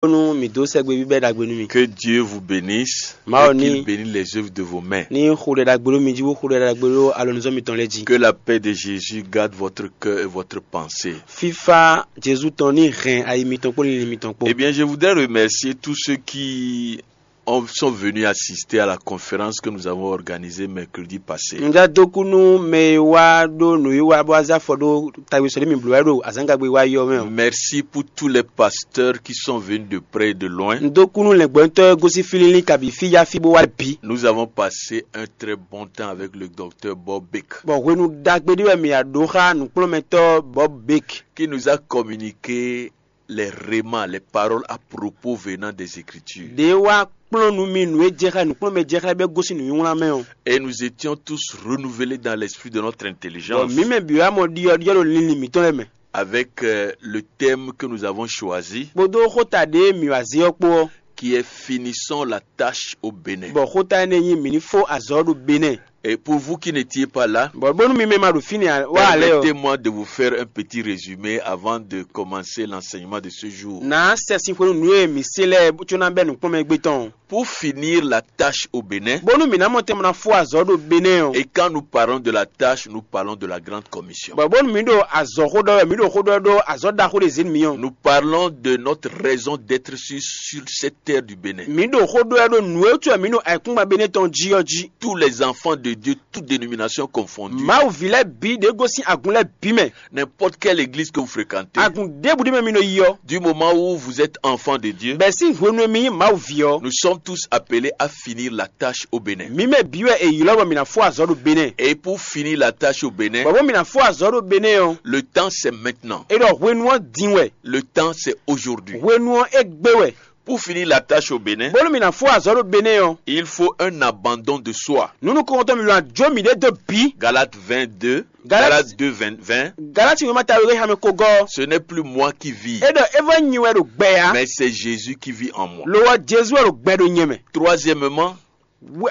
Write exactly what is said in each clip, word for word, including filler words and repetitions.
Bónú mǐ dó sɛ́gbe bíbɛ́ ɖagbe nú mi. Que Dieu vous bénisse. Mawu ní bénisse les œuvres de vos mains. Ní xo ɖɛ ɖagbe ɖó mi jí, bó xo ɖɛ ɖagbe ɖó alɔnuzɔ́ mitɔn lɛ́ɛ jí. Que la paix de Jésus garde votre cœur et votre pensée. Fífá Jezu tɔn ní hɛn ayi mitɔn kpó linlin mitɔn kpó. Eh bien, je voudrais remercier tous ceux qui ont- sont venus assister à la conférence que nous avons organisée mercredi passé. Un já dó kú nú mɛ e wá ɖó nǔwiwa bó wá zé afɔ ɖó tagbesɔ ɖé mi blǒ wɛ ɖo azǎngagbe wá yɔ mɛ ɔ́. Merci pour tous les pasteurs qui sont venus de près et de loin. Un dó kú nú lɛ̌ngbɔ́ntɔ́ e gosín fí línlín kabi fí yá fí bó wá bǐ. Nous avons passé un très bon temps avec le docteur Bob Beck. Bɔ hwenu ɖagbe ɖé wɛ mǐ ya ɖó xá nǔkplɔ́nmɛtɔ́ Bob Beck. Qui nous a communiqué les rémas, les paroles à propos venant des Écritures. Ɖě wá kplɔ́n nú mi nǔ e jɛ xá nǔkplɔ́nmɛ jɛ xá bɛ́ gosín nǔnywlán mɛ ɔ́. Et nous étions tous renouvelés dans l'esprit de notre intelligence. Bɔ mǐ mɛ bǐ wá mɔ ɖiɔ́ ɖiɔ́ ɖo linlin mǐtɔn lɛ́ɛ mɛ. Avec euh, le thème que nous avons choisi, kpódó xóta ɖě mǐ wá zé ɔ́ kpó ɔ́. Qui est finissons la tâche au Bénin. Bɔ xóta énɛ́ nyí mǐ ní fó azɔ̌ ɖo Benɛ́ɛ. Et pour vous qui n'étiez pas là, bɔ bónú mi mɛ ma ɖo fínɛ́ wá lɛ́ɛ ɔ́. Permettez-moi de vous faire un petit résumé avant de commencer l'enseignement de ce jour. Nǎ sɛ sin xwenu nǔ e mǐ se lɛ́ɛ có ná bɛ́ nǔkplɔ́nmɛ gbé tɔn. Pour finir la tâche au Bénin, bónú mǐ ná mɔ tɛn bó ná fó azɔ̌ ɖo Benɛ́ɛ ɔ́. Et quand nous parlons de la tâche, nous parlons de la grande commission. Bɔ bónú mǐ ɖo azɔ̌ xó ɖɔ wɛ, mǐ ɖo xó ɖɔ ɖó azɔ̌ ɖaxó ɖé zě nú mǐ ɔ́. Nous parlons de notre raison d'être sur, sur cette terre du Bénin. Mǐ ɖo xó ɖɔ wɛ ɖó nǔ e wútu wɛ mǐ ɖo ayǐkúngban Benɛ́ɛ tɔn jí ɔ́ jí. Tous les enfants de Dieu, toutes dénominations confondues. Mawu ví lɛ́ɛ bǐ ɖě gosín agun lɛ́ɛ bǐ mɛ. N'importe quelle église que vous fréquentez, agun ɖěbǔ ɖé mɛ mi nɔ yi ɔ́. Du moment où vous êtes enfant de Dieu, bɛ̌ sín hwenu e mi nyí Mawu ví ɔ́. Nous sommes tous appelés à finir la tâche au Bénin. Mǐ mɛ bǐ wɛ è ylɔ́ bɔ mǐ ná fó azɔ̌ ɖo Benɛ́ɛ. Et pour finir la tâche au Bénin, bɔ bó mǐ ná fó azɔ̌ ɖo Benɛ́ɛ ɔ́. Le temps c'est maintenant. É ɖɔ hwenu ɔ́ din wɛ. Le temps c'est aujourd'hui. Hwenu ɔ́ é gbé wɛ. Pour finir la tâche au Bénin, bónú mǐ ná fó azɔ̌ ɖo Benɛ́ɛ ɔ́. Il faut un abandon de soi. Nǔ nukɔntɔn mǐ wá jó mǐɖée dó bǐ. Galates vingt-deux, Galates deux, vingt, vingt. Galati wěma ta wěwé xamɛ ko gɔ́. Ce n'est plus moi qui vis, é ɖɔ é vɔ nyi wɛ ɖo gbɛ ǎ. Mais c'est Jésus qui vit en moi. Lo ɔ́ Jezu wɛ ɖo gbɛ ɖo nyɛ mɛ. Troisièmement,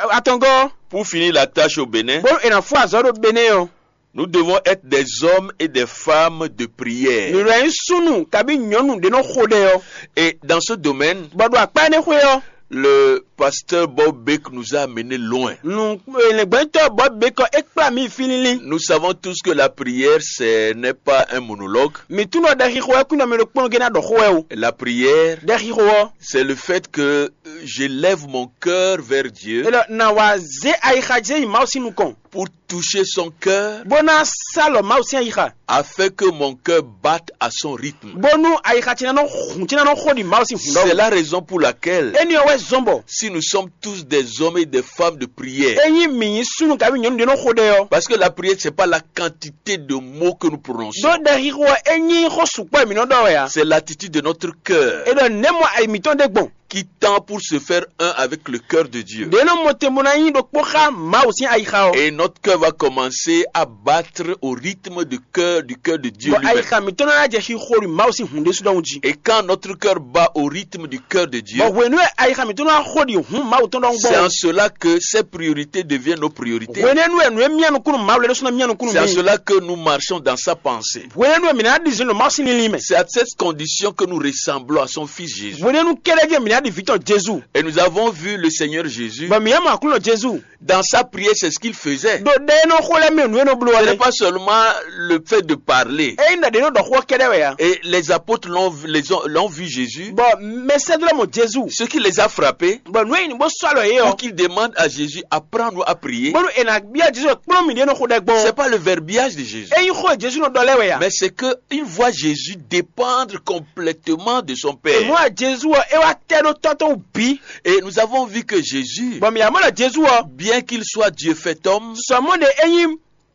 atɔngɔ́, pour finir la tâche au Bénin, bónú è nǎ fó azɔ̌ ɖo Benɛ́ɛ ɔ́. Nous devons être des hommes et des femmes de prière. Mǐ wɛ nyí súnnu kabí nyɔ̌nu ɖé nɔ xo ɖɛ ɔ́. Et dans ce domaine, bɔ ɖo akpá énɛ́ xwé ɔ́. Le pasteur Bob Beck nous a amenés loin. Nǔ lɛ̌ngbɛ́ntɔ́ Bob Beck ɔ́ é kplá mǐ fí línlín. Nous savons tous que la prière, ce n'est pas un monologue. Mǐ tunwun ɖɔ ɖɛxixo wɛ kún nɔ mɛ ɖokpónɔ gé ná ɖɔ xó wɛ o. La prière, ɖɛxixo ɔ́. C'est le fait que euh, j'élève mon cœur vers Dieu. Elɔ na wá zé ayixa jɛ yi Mawu sín nukɔn. Pour toucher son cœur, bó ná sá lɔ Mawu sín ayixa. Afin que mon cœur batte à son rythme. Bónú ayixa ce ná nɔ hun ce ná nɔ xo ɖi Mawu sín hun. C'est la raison pour laquelle, éni ɔ́ wɛ zɔn bɔ, si nous sommes tous des hommes et des femmes de prière, ényí mǐ nyí súnnu kabi nyɔ̌nu ɖé nɔ xo ɖɛ ɔ́. Parce que la prière, c'est pas la quantité de mots que nous prononçons. Ɖó ɖɛxixo ɔ́ é nyí xó sukpɔ́ e mǐ nɔ ɖɔ wɛ ǎ. C'est l'attitude de notre cœur. É ɖɔ nɛ̌ mɔ ayi mǐtɔn ɖe gbɔn. Qui tend pour se faire un avec le cœur de Dieu. Ɖě nɔ mɔ te bó ná nyí ɖokpó xá Mawu sín ayixa ɔ́. Et notre cœur va commencer à battre au rythme du cœur, du cœur de Dieu. Bɔ lui-même. Ayixa mǐtɔn ná jɛ xixo ɖi Mawu sín hun ɖésú ɖɔhun jí. Et quand notre cœur bat au rythme du cœur de Dieu, bɔ hwenu e ayixa mǐtɔn ná xo ɖi hun Mawu tɔn ɖɔhun gbɔn. C'est en cela que ses priorités deviennent nos priorités. Hwenɛ́nu wɛ nǔ e mía nukúnnú Mawu lɛ́ɛ ɖésú ná mía nukúnnú. C'est en cela que nous marchons dans sa pensée. Hwenɛ́nu wɛ mǐ ná ɖi zǐn ɖo Mawu sín linlin mɛ. C'est à cette condition que nous ressemblons à son Fils Jésus. Hwenɛ́nu kɛ́ɖɛ́ jɛ mǐ ná ɖi vǐ tɔn Jezu. Et nous avons vu le Seigneur Jésus. Bɔ mǐ yɛ mɔ Aklúnɔ Jezu. Dans sa prière, c'est ce qu'il faisait. Ɖo ɖɛ e nɔ xo lɛ́ɛ mɛ nǔ e nɔ bló. Ce n'est pas seulement le fait de parler. Ényí ɖɔ ɖě nɔ ɖɔ xó kɛ́ɖɛ́ wɛ ya. Et les apôtres l'ont, les ont- l'ont vu Jésus. Bɔ mɛsɛ́dó lɛ́ɛ mɔ Jezu. Ce qui les a frappés, bɔ nǔ e nyi bó sɔ́ alɔ yě ɔ. Pour qu'ils demandent à Jésus, apprends-nous à prier. Bónú è nǎ byɔ́ Jezu kplɔ́n mǐ ɖě nɔ xo ɖɛ gbɔn. C'est pas le verbiage de Jésus. Ényí xó e Jezu nɔ ɖɔ lɛ́ɛ wɛ ya. Mais c'est que ils voient Jésus dépendre complètement de son Père. Mɔ̌ a Jezu ɔ́ é wá tɛ́ ɖó tɔ́ tɔn wú bǐ. Et nous avons vu que Jésus, bɔ mǐ yá mɔ ɖɔ Jezu ɔ́. Bien qu'il soit Dieu fait homme, sɔmɔ ɖe é nyí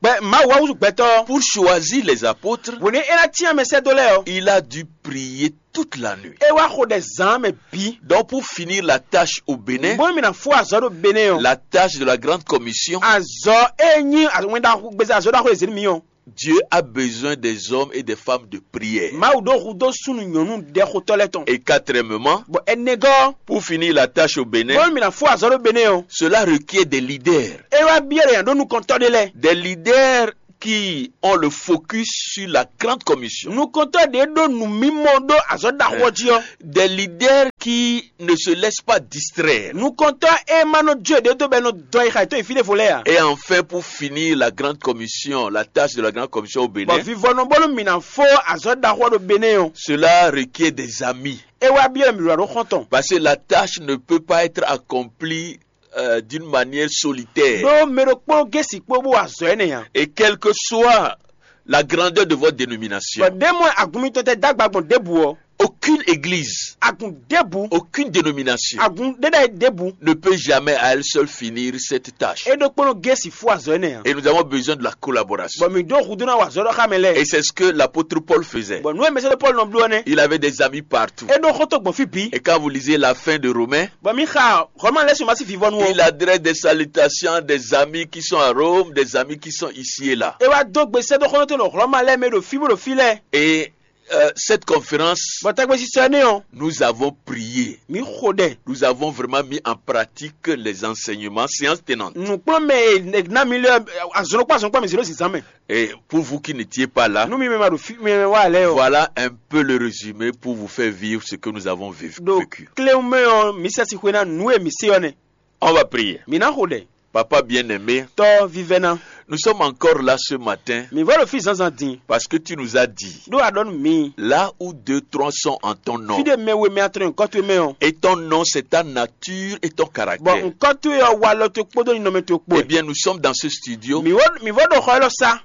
gbɛ Mawu wá wútu gbɛtɔ́. Pour choisir les apôtres, hwenu é ná cyán mɛsɛ́dó lɛ́ɛ ɔ́. Il a dû prier toute la nuit. É wá xo ɖɛ zǎn mɛ bǐ. Donc pour finir la tâche au Bénin, bónú mǐ ná fó azɔ̌ ɖo Benɛ́ɛ ɔ́. La tâche de la grande commission, azɔ̌ é nyí wɛn ɖaxó gbèsè azɔ̌ ɖaxó e zě nú mǐ ɔ́. Dieu a besoin des hommes et des femmes de prière. Mawu ɖó hudó súnnu nyɔ̌nu ɖɛxotɔ́ lɛ́ɛ tɔn. Et quatrièmement, bɔ ɛnɛgɔ́, pour finir la tâche au Bénin, bónú mǐ ná fó azɔ̌ ɖo Benɛ́ɛ ɔ́. Cela requiert des leaders. É wá byɔ́ ɖe yǎ ɖó nukɔntɔ́ ɖé lɛ́ɛ. Des leaders qui ont le focus sur la grande commission. Nukɔntɔ́ ɖě ɖó nǔmimɔ ɖó azɔ̌ ɖaxó ɔ́ jí ɔ́. Des leaders qui ne se laissent pas distraire. Nukɔntɔ́ e ma nɔ jó ɖě dó bɔ è nɔ dɔn yi xa yi tó yi fí ɖěvo lɛ́ɛ ǎ. Et enfin, pour finir la grande commission, la tâche de la grande commission au Bénin, bɔ vivɔnɔ bónú mǐ ná fó azɔ̌ ɖaxó ɔ́ ɖo Benɛ́ɛ ɔ́. Cela requiert des amis. É wá byɔ́ mǐ ɖo xɔ́ntɔn. Parce que la tâche ne peut pas être accomplie euh, d'une manière solitaire. Ɖó mɛ ɖokpó gé sixkpó bó wa azɔ̌ énɛ́ ǎ. Et quelle que soit la grandeur de votre dénomination, bɔ ɖé mɔ agun mitɔn tɛ dó agba gbɔn ɖěbǔ ɔ́. Aucune église, Agun ɖěbǔ. Aucune dénomination Agun ɖéɖá ɖěbǔ. Ne peut jamais à elle seule finir cette tâche. É ɖokpónɔ gé si fú azɔ̌ énɛ́ ǎ. Et nous avons besoin de la collaboration. Bɔ mǐ ɖó hudó ná wa azɔ̌ ɖɔ xá mɛ lɛ́ɛ. Et c'est ce que l'apôtre Paul faisait. Bɔ nǔ e mɛsɛ́dó Pɔ́lu nɔ bló ɔ́ nɛ́. Il avait des amis partout. É ɖó xɔ́ntɔn gbɔn fí bǐ. Et quand vous lisez la fin de Romains, Bɔ mǐ xa Hlɔ̌ma lɛ́ɛ sín ma sín vivɔnu ɔ́. Il adresse des salutations à des amis qui sont à Rome, des amis qui sont ici et là. É wá dó gbe sɛ́ dó xɔ́ntɔn ɖo Hlɔ̌ma lɛ́ɛ mɛ ɖo fí bó ɖo fí lɛ́ɛ. Et euh, cette conférence, Bɔ tagbésisɔ énɛ́ ɔ́, Nous avons prié. Mǐ xo ɖɛ. Nous avons vraiment mis en pratique les enseignements, séance tenante. Nǔkplɔ́nmɛ e ná mi lé azɔn kpó azɔn kpó mi zě ɖo zǐnzán mɛ. Et pour vous qui n'étiez pas là, Nú mi mɛ ma ɖo fí mi mɛ wá lɛ́ɛ ɔ́. Voilà un peu le résumé pour vous faire vivre ce que nous avons vécu. Ɖo kléwún mɛ ɔ́, mǐ sɛ si xwe ná nǔ e mǐ se ɔ́ nɛ́. On va prier. Mǐ ná xo ɖɛ. Papa bien-aimé, Tɔ́ vívɛ́ná. Nous sommes encore là ce matin. Mǐ vɔ ɖo fí zǎnzǎn din. Parce que tu nous as dit, Ɖó a ɖɔ nú mǐ. Là où deux, trois sont en ton nom. Fí ɖé mɛ we mɛ atɔn nyɔ̌kɔ towe mɛ ɔ́. Et ton nom, c'est ta nature et ton caractère. Bɔ ŋkɔ towe ɔ́ walɔ towe kpódó ninɔmɛ towe kpó. Eh bien, nous sommes dans ce studio. Mǐ vɔ mǐ vɔ ɖo xɔ élɔ́ sá.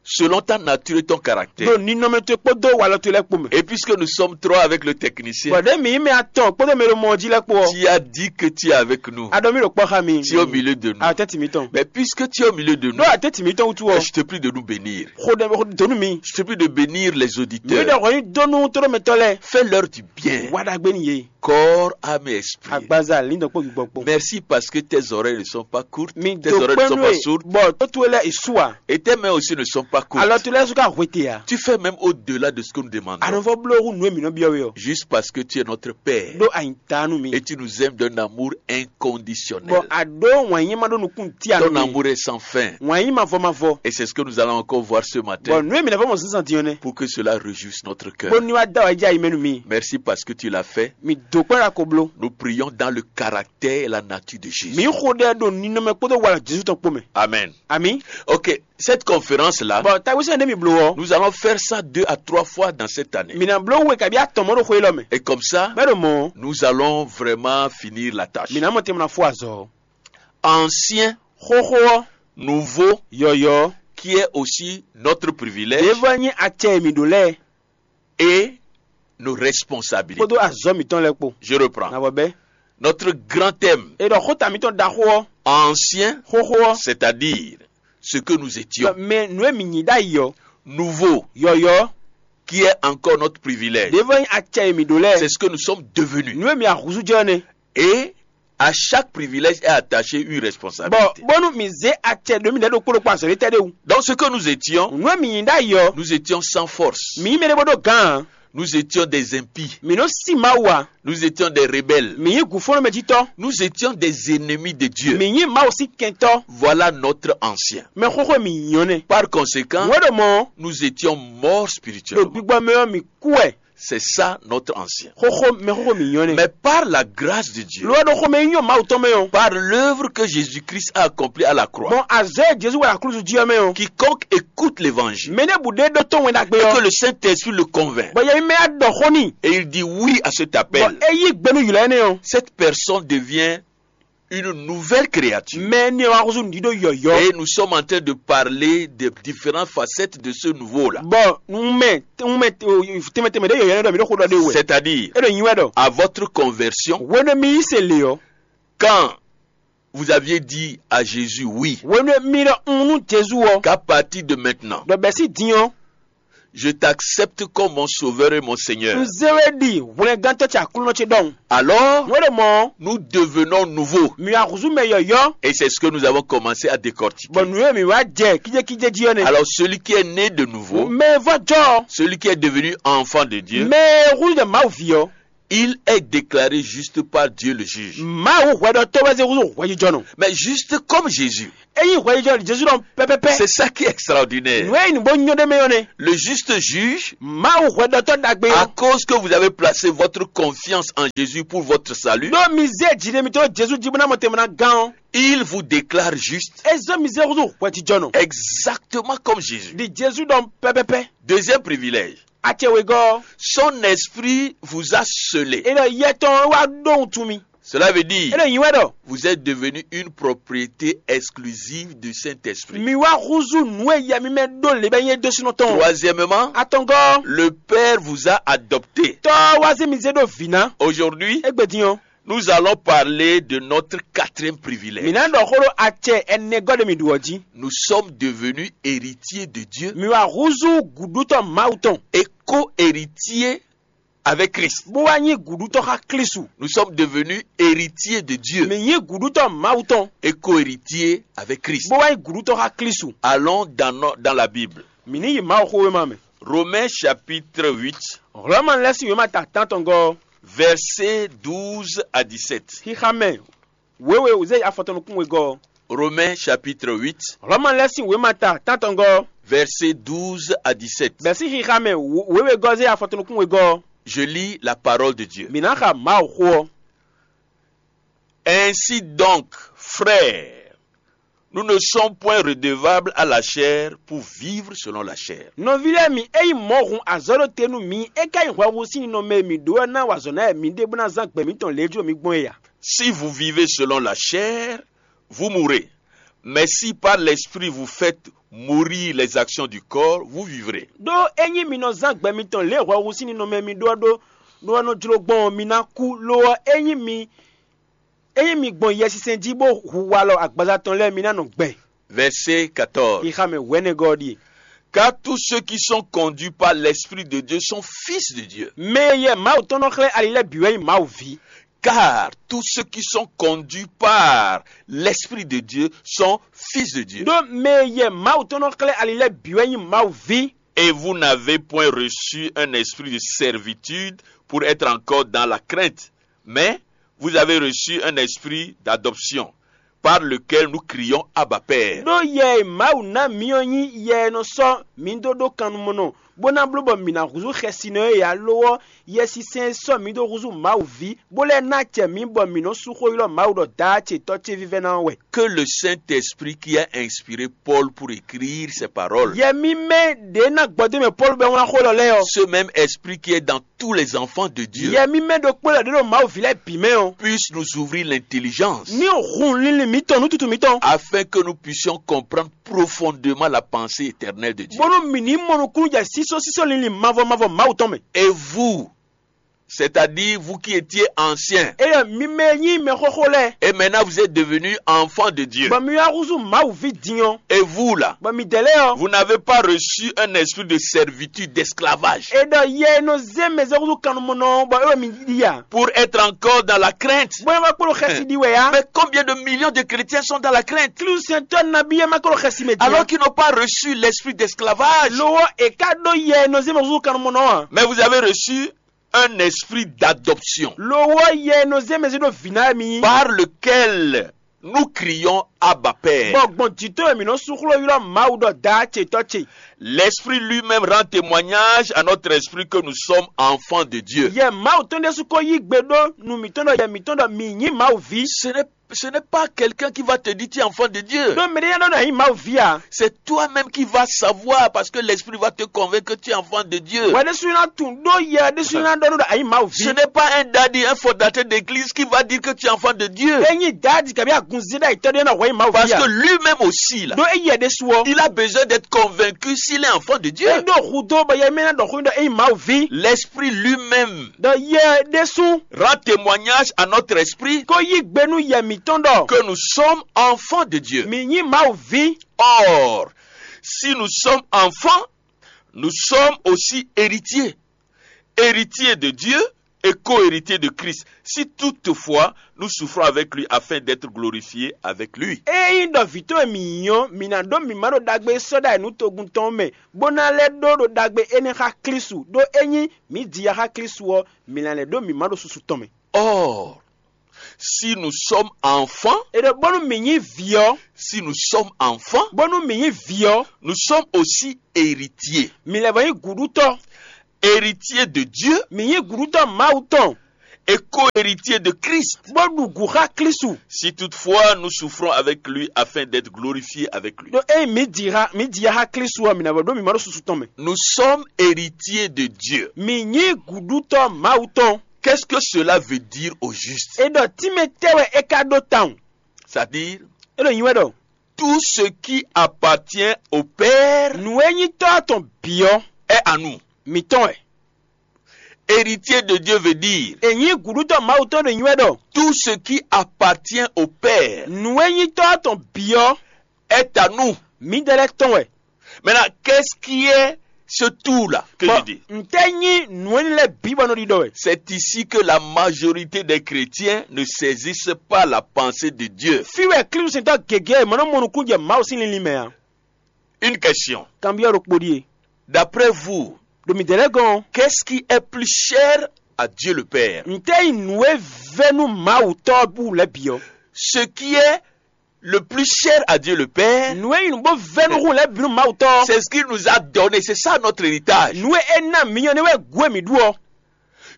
Selon ta nature et ton caractère. Ɖo ninɔmɛ towe kpódó walɔ towe lɛ́ɛ kpó mɛ. Et puisque nous sommes trois avec le technicien, Bɔ ɖé mǐ nyí mɛ atɔn kpódó mɛ e ɖo mɔ ɔ́ jí lɛ́ɛ kpó ɔ́. Tu as dit que tu es avec nous. A ɖɔ mí ɖo kpɔ́ xá mi. Tu es au milieu de nous. Atɛ́ntin mǐtɔn. Mais puisque tu es au milieu de nous, Ɖó atɛ́ntin mǐtɔn wútu ɔ́. Je te prie de nous bénir. Xo ɖɛ xo donu mi. Je te prie de bénir les auditeurs. Mi ɖɔ xɔ nyi donu tóɖó mɛtɔ́ lɛ́ɛ. Fais leur du bien. Wa ɖagbe ni ye. Corps, âme et esprit. Agbaza lindɔ kpó gbígbɔ kpó. Merci parce que tes oreilles ne sont pas courtes, Mi tes do oreilles ne sont pas sourdes, bɔ tó towe lɛ isu a. Et tes mains aussi ne sont pas courtes. Alɔ towe lɛ su ka hwete a. Tu fais même au-delà de ce que nous demandons. Anɔvɔ blo hu nue mi nɔ biɔ we ɔ. Juste parce que tu es notre Père. Ɖó anyi ta nu mi. Et tu nous aimes d'un amour inconditionnel. Bɔ a ɖó wɔn nyi ma ɖó nukun ti a Ton nu mi. Amour est sans fin. Wɔn nyi ma vɔ ma vɔ. Et c'est ce que nous allons encore voir ce matin. Bɔ nue mi na vɔ mɔ sisan diɔ nɛ. Pour que cela réjouisse notre cœur. Bó ni wa da wa jɛ ayi mɛ nu mi. Merci parce que tu l'as fait. Mi do kpɛ la ko blo. Nous prions dans le caractère et la nature de Jésus. Mi xo ɖɛ ɖo ninɔmɛ kpódó wala Jesu tɔn kpó mɛ. Amen. Ami. Ok, cette conférence-là, Bɔn tawisɛn ɖé mi blo ɔ. Nous allons faire ça deux à trois fois dans cette année. Mi na blo we kabi atɔn mɔ ɖo xwe lɔ mɛ. Et comme ça, Mɛ ɖo mɔ. Nous allons vraiment finir la tâche. Mi na mɔ tɛmɛ na fo azɔ. Ancien, Xoxo ɔ. Nouveau, Yɔyɔ. Qui est aussi notre privilège. Ɖevɔ nyi acɛ mi ɖo lɛ. Et nos responsabilités. Kpódó azɔ mitɔn lɛ kpó. Je reprends. Na bɔ bɛ. Notre grand thème. E ɖɔ xota mitɔn ɖaxó ɔ. Ancien, Xoxo ɔ. C'est-à-dire ce que nous étions. Mɛ nu e mi nyi ɖ'ayǐ ɔ. Nouveau, Yɔyɔ. Qui est encore notre privilège. Ɖevɔ nyi acɛ e mi ɖo lɛ. C'est ce que nous sommes devenus. Nu e mi ahúzú jɛ ɔ nɛ. Et à chaque privilège est attachée une responsabilité. Bɔn bónú mi zé acɛ ɖo mi ɖɛ ɖokpó ɖokpó azɔ̌ ɖé tɛ́ ɖé wú. Donc ce que nous étions, Nu e mi nyi ɖ'ayǐ ɔ. Nous étions sans force. Mi nyí mɛ ɖé bó ɖó gǎn. Nous étions des impies. Mi nɔ sí Mawu a. Nous étions des rebelles. Mi nyí gǔfɔ́nmɛjítɔ́. Nous étions des ennemis de Dieu. Mi nyí Mawu sín kɛntɔ́. Voilà notre ancien. Mɛ xóxó mi nyɔ́ nɛ. Par conséquent, Nǔ e ɖo mɔ. Nous étions morts Ɖo spirituellement. Gbígbɔ mɛ ɔ́ mi kú wɛ. C'est ça notre ancien. Xóxó mɛ xóxó mi nyɔ́ nɛ. Mais par la grâce de Dieu, Lo wá ɖo xomɛ nyɔ Mawu tɔn mɛ ɔ. Par l'œuvre que Jésus-Christ a accomplie à la croix, Bɔn azɔ̌ e Jezu wɛ aklúzu jí ɔ́ mɛ ɔ. Quiconque écoute l'évangile Mɛ ɖé bu ɖé ɖó tɔn wɛn ɖagbe et que ɔ. Le Saint-Esprit le convainc, Bɔ yɛ mɛ á ɖɔ xó n'i. Et il dit oui à cet Bɔ appel, é yí gbe nú ylɔ̌ énɛ́ ɔ. Cette personne devient une nouvelle créature. Mɛ énɛ́ ɔ́ wá húzú nǔɖíɖó yɔ̌yɔ́. Et nous sommes en train de parler des différentes facettes de ce nouveau-là. Bɔ un mɛ un mɛ tɛnmɛ tɛnmɛ ɖé yɔ̌yɔ́ nɛ́ ɖɔ mi ɖó xó ɖɔ ɖé wɛ. C'est-à-dire, É ɖo nyi wɛ ɖɔ. À votre conversion, Hwenu e mi yí se le ɔ. Quand vous aviez dit à Jésus oui, Hwenu e mi ɖɔ un nú Jezu ɔ. Qu'à partir de maintenant, Ɖɔ bɛ̌ sín din ɔ́. Je t'accepte comme mon sauveur et mon Seigneur. Un zé we ɖi hwlɛngántɔ́ ce Aklúnɔ ce ɖɔhun. Alors, Nǔ e ɖo mɔ̌. Nous devenons nouveaux. Mi wá húzú mɛ yɔ̌yɔ́. Et c'est ce que nous avons commencé à décortiquer. Bɔ nǔ e mi wá jɛ kíjékíjé jí ɔ́ nɛ́. Alors, celui qui est né de nouveau, Mɛ e vɔ́ jɔ. Celui qui est devenu enfant de Dieu, Mɛ e húzú jɛ Mawu ví ɔ́. Il est déclaré juste par Dieu le juge. Mawu hwɛɖɔtɔ́ wɛ zé húzú hwɛjijɔnɔ. Mais juste comme Jésus. Ényí hwɛjijɔnɔ Jezu ɖɔ pɛpɛpɛ. C'est ça qui est extraordinaire. Nǔ e nyǐ bó nyɔ́ ɖ'é mɛ ɔ́ nɛ́. Le juste juge, Mawu hwɛɖɔtɔ́ ɖagbe à ɔ́. Cause que vous avez placé votre confiance en Jésus pour votre salut, Ɖó mi zé jǐɖé mitɔn ɖó Jezu jí bó ná mɔ tɛnmɛ ná gán ɔ́. Il vous déclare juste. É zɔ́n mi zé húzú hwɛjijɔnɔ. Exactement comme Jésus. Ɖi Jezu ɖɔ pɛpɛpɛ. Deuxième privilège. Acɛ wegɔ́. Son esprit vous a scellé. É ɖɔ yɛ tɔn wá ɖó wuntun mi. Cela veut dire, É ɖɔ nyǐ wɛ ɖɔ. Vous êtes devenu une propriété exclusive du Saint-Esprit. Mi wá húzú nǔ e yɛ mi mɛ ɖó lě bɛ nyí é dó sínú tɔn. Troisièmement, Atɔngɔ́. Le Père vous a adopté. Tɔ́ wá zé mi zé ɖó vǐ ná. Aujourd'hui, Égbé din ɔ́. Nous allons parler de notre quatrième privilège. Mǐ ná ɖɔ xó ɖó acɛ ɛnɛgɔ́ ɖe mǐ ɖu ɔ́ jí. Nous sommes devenus héritiers de Dieu. Mi wá húzú gǔɖútɔ́ Mawu tɔn. Et co-héritiers avec Christ. Bó wá nyí gǔɖútɔ́ xá Klísu. Nous sommes devenus héritiers de Dieu. Mǐ nyí gǔɖútɔ́ Mawu tɔn. Et co-héritiers avec Christ. Bó wá nyí gǔɖútɔ́ xá Klísu. Allons dans, no- dans la Bible. Mǐ ní yi Mawuxówéma mɛ. Romains chapitre huit, Hlɔ̌ma lɛ́ɛ sín wěma ta tántɔngɔ́ ɔ́. Verset douze à dix-sept. Xixa mɛ wěwe wězé afɔtɔn nukún wegɔ́ ɔ́. Romains chapitre huit, Hlɔ̌ma lɛ́ɛ sín wěma ta tántɔngɔ́ ɔ́. Verset douze à dix-sept. Bɛ̌ sín xixa mɛ wě- wěwegɔ́ zé afɔtɔn nukún wegɔ́ ɔ́. Je lis la parole de Dieu. Mǐ ná xa Mawu xó ɔ́. Ainsi donc, frères, nous ne sommes point redevables à la chair pour vivre selon la chair. Nɔví lɛ́ɛ mi, ényí mɔ̌ hun azɔ̌ ɖo te nú mi, é ka nyí hwɛhú sín ninɔmɛ e mǐ ɖó ɔ́ ná wa azɔ̌ ná wɛ mi ɖe bó ná zán gbɛ mǐtɔn lě e jló mi gbɔn é a? Si vous vivez selon la chair, vous mourrez. Mais si par l'esprit vous faites mourir les actions du corps, vous vivrez. Ɖó ényí mi nɔ zán gbɛ mitɔn lě e hwɛhú sín ninɔmɛ e mi ɖó ɔ́ ɖó ɖó ɔ́ nɔ jló gbɔn ɔ́, mi ná kú. Lo ɔ́, ényí mi ényí mi gbɔn Yɛsinsɛn jí bó hu walɔ agbaza tɔn lɛ́ɛ, mi ná nɔ gbɛ. Verset quatorze. Xixa mɛ wɛ̌nɛgɔ́ ɔ́ ɖíe. Car tous ceux qui sont conduits par l'Esprit de Dieu sont fils de Dieu. Mɛ e yɛ Mawu tɔn nɔ xlɛ́ ali lɛ́ɛ bǐ wɛ nyí Mawu ví. Car tous ceux qui sont conduits par l'Esprit de Dieu sont fils de Dieu. Ɖó mɛ e yɛ Mawu tɔn nɔ xlɛ́ ali lɛ́ɛ bǐ wɛ nyí Mawu ví. Et vous n'avez point reçu un esprit de servitude pour être encore dans la crainte, mais vous avez reçu un esprit d'adoption, par lequel nous crions Abba Père. Ɖó yɛ e Mawu ná mi ɔ́ nyí yɛ e nɔ sɔ́ mi dó ɖó kannumɔnɔ, bó ná bló bɔ mǐ ná húzú xɛsinɔ e ǎ; lo ɔ́, Yɛsinsɛn e sɔ́ mǐ dó húzú Mawu ví, bó lɛ́ ná acɛ mǐ bɔ mǐ nɔ́ sú xó ylɔ́ Mawu ɖɔ Daá ce Tɔ́ ce vívɛ́ná ɔ́ wɛ. Que le Saint-Esprit qui a inspiré Paul pour écrire ces paroles, Yɛ mímɛ́ ɖě ná gbɔdó mɛ Pɔ́lu bɛ́ wlán xó lɔ lɛ́ɛ ɔ́. Ce même Esprit qui est dans tous les enfants de Dieu, Yɛ mímɛ́ ɖokpó lɛ́ɛ ɖě ɖo Mawu ví lɛ́ɛ bǐ mɛ ɔ́. Puisse nous ouvrir l'intelligence, Ní hun linlin mǐtɔn nú tutu mǐtɔn. Afin que nous puissions comprendre profondément la pensée éternelle de Dieu. Bónú mǐ ní mɔ nukúnnú jɛ sísɔ́sísɔ́ linlin mavɔ mavɔ Mawu tɔn mɛ. Et vous, c'est-à-dire vous qui étiez anciens, Éyɛ́ mi mɛ e nyí mɛxóxó lɛ́ɛ. Et maintenant vous êtes devenus enfants de Dieu. Bɔ mi wá húzú Mawu ví din ɔ́. Et vous là, Bɔ midɛɛ lɛ́ɛ ɔ́. Vous n'avez pas reçu un esprit de servitude, d'esclavage. E ɖɔ yɛ e nɔ zé mɛ zé húzú kannumɔnɔ ɔ́, bɔ é wɛ mi ɖi a? Pour être encore dans la crainte. Bɔ é wá kplɔ́n xɛsi ɖi wɛ a? Mais combien de millions de chrétiens sont dans la crainte? Klísusɛntɔ́ nabí e ma kplɔ́n xɛsi mɛ din a? Alors qu'ils n'ont pas reçu l'esprit d'esclavage. Lo ɔ́, è ka ɖó yɛ e nɔ zé mɛ húzú kannumɔnɔ ɔ́ a? Mais vous avez reçu un esprit d'adoption. Lo ɔ́, yɛ e nɔ zé mɛ zé ɖó vǐ ná wɛ mi nyí. Par lequel nous crions Abba Père. Bɔ gbɔn jǐ tɔn e mǐ nɔ sú xló ylɔ́ Mawu ɖɔ Daá ce Tɔ́ ce. L'Esprit lui-même rend témoignage à notre esprit que nous sommes enfants de Dieu. Yɛ Mawu tɔn ɖésú ko yí gbe ɖó nu mǐtɔn ɖɔ yɛ mǐtɔn ɖɔ mǐ nyí Mawu ví. Ce n'est, ce n'est pas quelqu'un qui va te dire tu es enfant de Dieu. Ɖó mɛ ɖé nya ɖɔ nɔ nyí Mawu ví a? C'est toi-même qui vas savoir parce que l'Esprit va te convaincre que tu es enfant de Dieu. Wɛ ɖésú ná tunwun ɖó yɛ ɖésú ná ɖɔ nú ɖɔ a nyí Mawu ví. Ce n'est pas un daddy, un fondateur d'église qui va dire que tu es enfant de Dieu. É nyí daadi kabi agunzí ɖo ayǐtɔ́ ɖé ná hwɛ nyí Mawu ví a? Parce que lui-même aussi, là, Ɖó éyɛ ɖésú ɔ́. Il a besoin d'être convaincu s'il est enfant de Dieu. É ɖó hudó bɔ yɛ mɛ ná ɖɔ xó ɖɔ é nyí Mawu ví. L'Esprit lui-même Ɖɔ yɛ ɖésú rend témoignage à notre esprit ko yí gbe nú yɛ mǐtɔn ɖɔ que nous sommes enfants de Dieu. Mǐ nyí Mawu ví. Or, si nous sommes enfants, nous sommes aussi héritiers. Héritiers de Dieu et co-héritiers de Christ, si toutefois nous souffrons avec lui afin d'être glorifiés avec lui. Ényí ɖɔ vǐ towe mǐ nyí ɔ́, mǐ ná ɖó mǐ ma ɖo ɖagbe e sɔ́ ɖ'ayǐ nú togun tɔn ɔ́ mɛ, bó ná lɛ́ ɖó ɖo ɖagbe énɛ́ xá Klísu, ɖó ényí mǐ ji ya xá Klísu ɔ́, mǐ ná lɛ́ ɖó mǐ ma ɖo susu tɔn mɛ. Or, si nous sommes enfants, E ɖɔ bónú mǐ nyí vǐ ɔ́, si nous sommes enfants, bónú mǐ nyí vǐ ɔ́, nous sommes aussi héritiers. Mǐ lɛ́ vɔ nyí gǔɖutɔ́. Héritiers de Dieu, Mǐ nyí gǔɖutɔ́ Mawu tɔn, et co-héritiers de Christ, bó ɖu gǔ xá Klísu. Si toutefois nous souffrons avec lui afin d'être glorifiés avec lui. Ɖó ényí mǐ ji xa mǐ ji ya xá Klísu ɔ́, mǐ ná vɔ ɖó mǐ ma ɖo susu tɔn mɛ. Nous sommes héritiers de Dieu. Mǐ nyí gǔɖutɔ́ Mawu tɔn. Qu'est-ce que cela veut dire au juste? E ɖɔ tínmɛ tɛ́ wɛ é ka ɖó tawun? C'est-à-dire, É ɖo nyi wɛ ɖɔ tout ce qui appartient au Père nǔ e nyí tɔ́ tɔn bǐ ɔ́, est à nous. Mǐtɔn wɛ. Héritier de Dieu veut dire, E nyí gǔɖutɔ́ Mawu tɔn ɖo nyi wɛ ɖɔ tout ce qui appartient au Père nǔ e nyí tɔ́ tɔn bǐ ɔ́, est à nous. Mǐdɛɛ lɛ́ɛ tɔn wɛ. Maintenant, qu'est-ce qui est ce tout-là que je dis? Ntɛ́ nyí nǔ énɛ́ lɛ́ɛ bǐ bɔ nɔ ɖiɖɔ wɛ? C'est ici que la majorité des chrétiens ne saisissent pas la pensée de Dieu. Fí wɛ Klísusɛntɔ́ gěgé e mɔ nɔ mɔ nukúnnú jɛ Mawu sín linlin mɛ ǎ. Une question. Kanbyɔ́ ɖokpó ɖíe. D'après vous, Ɖo mǐdɛɛ lɛ́ɛ gɔ́n ɔ́, qu'est-ce qui est plus cher à Dieu le Père? Ntɛ́ nyí nǔ e vɛ́ nú Mawu Tɔ́ ɔ́ bú lɛ́ɛ bǐ ɔ́? Ce qui est le plus cher à Dieu le Père, Nǔ e nyí nǔ bó vɛ́ nú hun lɛ́ɛ bǐ nú Mawu Tɔ́ ɔ́, c'est ce qu'il nous a donné. C'est ça notre héritage. Nǔ e é ná mǐ nyɔ́ nɛ́ wɛ gǔ e mǐ ɖu ɔ́.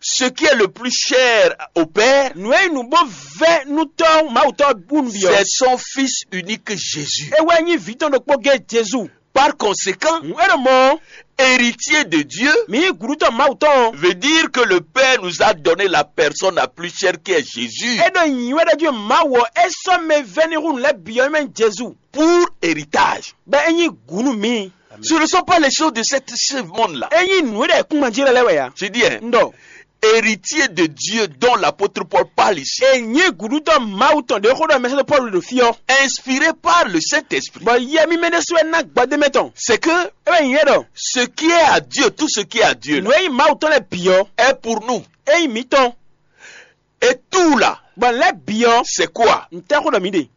Ce qui est le plus cher au Père, Nǔ e nyí nǔ bó vɛ́ nú Tɔ́ Mawu Tɔ́ bú nú bǐ ɔ́, c'est son Fils unique Jésus. É wɛ nyí vǐ tɔn ɖokpó gé Jezu. Par conséquent, Hǔn é ɖo mɔ̌ ɔ́, héritier de Dieu mǐ nyí gǔɖutɔ́ Mawu tɔn ɔ́. Veut dire que le Père nous a donné la personne la plus chère qui est Jésus. É ɖo nyǐnyí wɛ ɖɔ jí Mawu ɔ́ é sɔ́ mɛ vɛ́ n'i hú nǔ lɛ́ɛ bǐ ɔ́ mɛ Jezu. Pour héritage. Bɔ é nyí gǔ nú mǐ. Ce ne sont pas les choses de cette, ce monde-là. É nyí nǔ e ɖo ayǐkúngban jí lɛ́ɛ lɛ́ɛ wɛ ǎ. Je dis, hein, Un ɖɔ héritier de Dieu dont l'apôtre Paul parle ici, é nyí gǔɖutɔ́ Mawu tɔn ɖě xó ɖɔ mɛsɛ́dó Pɔ́lu ɖo fí ɔ́, inspiré par le Saint-Esprit, bɔ yɛ mímɛ́ ɖésú wɛ ná gbɔdémɛ tɔn. C'est que É wɛ nyí é ɖɔ ce qui est à Dieu, tout ce qui est à Dieu, nǔ là, e nyí Mawu tɔn lɛ́ɛ bǐ ɔ́, Est pour nous. É nyí mǐtɔn. Et tout là, Bɔ lɛ́ bǐ ɔ́, C'est quoi? Ntɛ́ xó ɖɔ mǐ ɖe?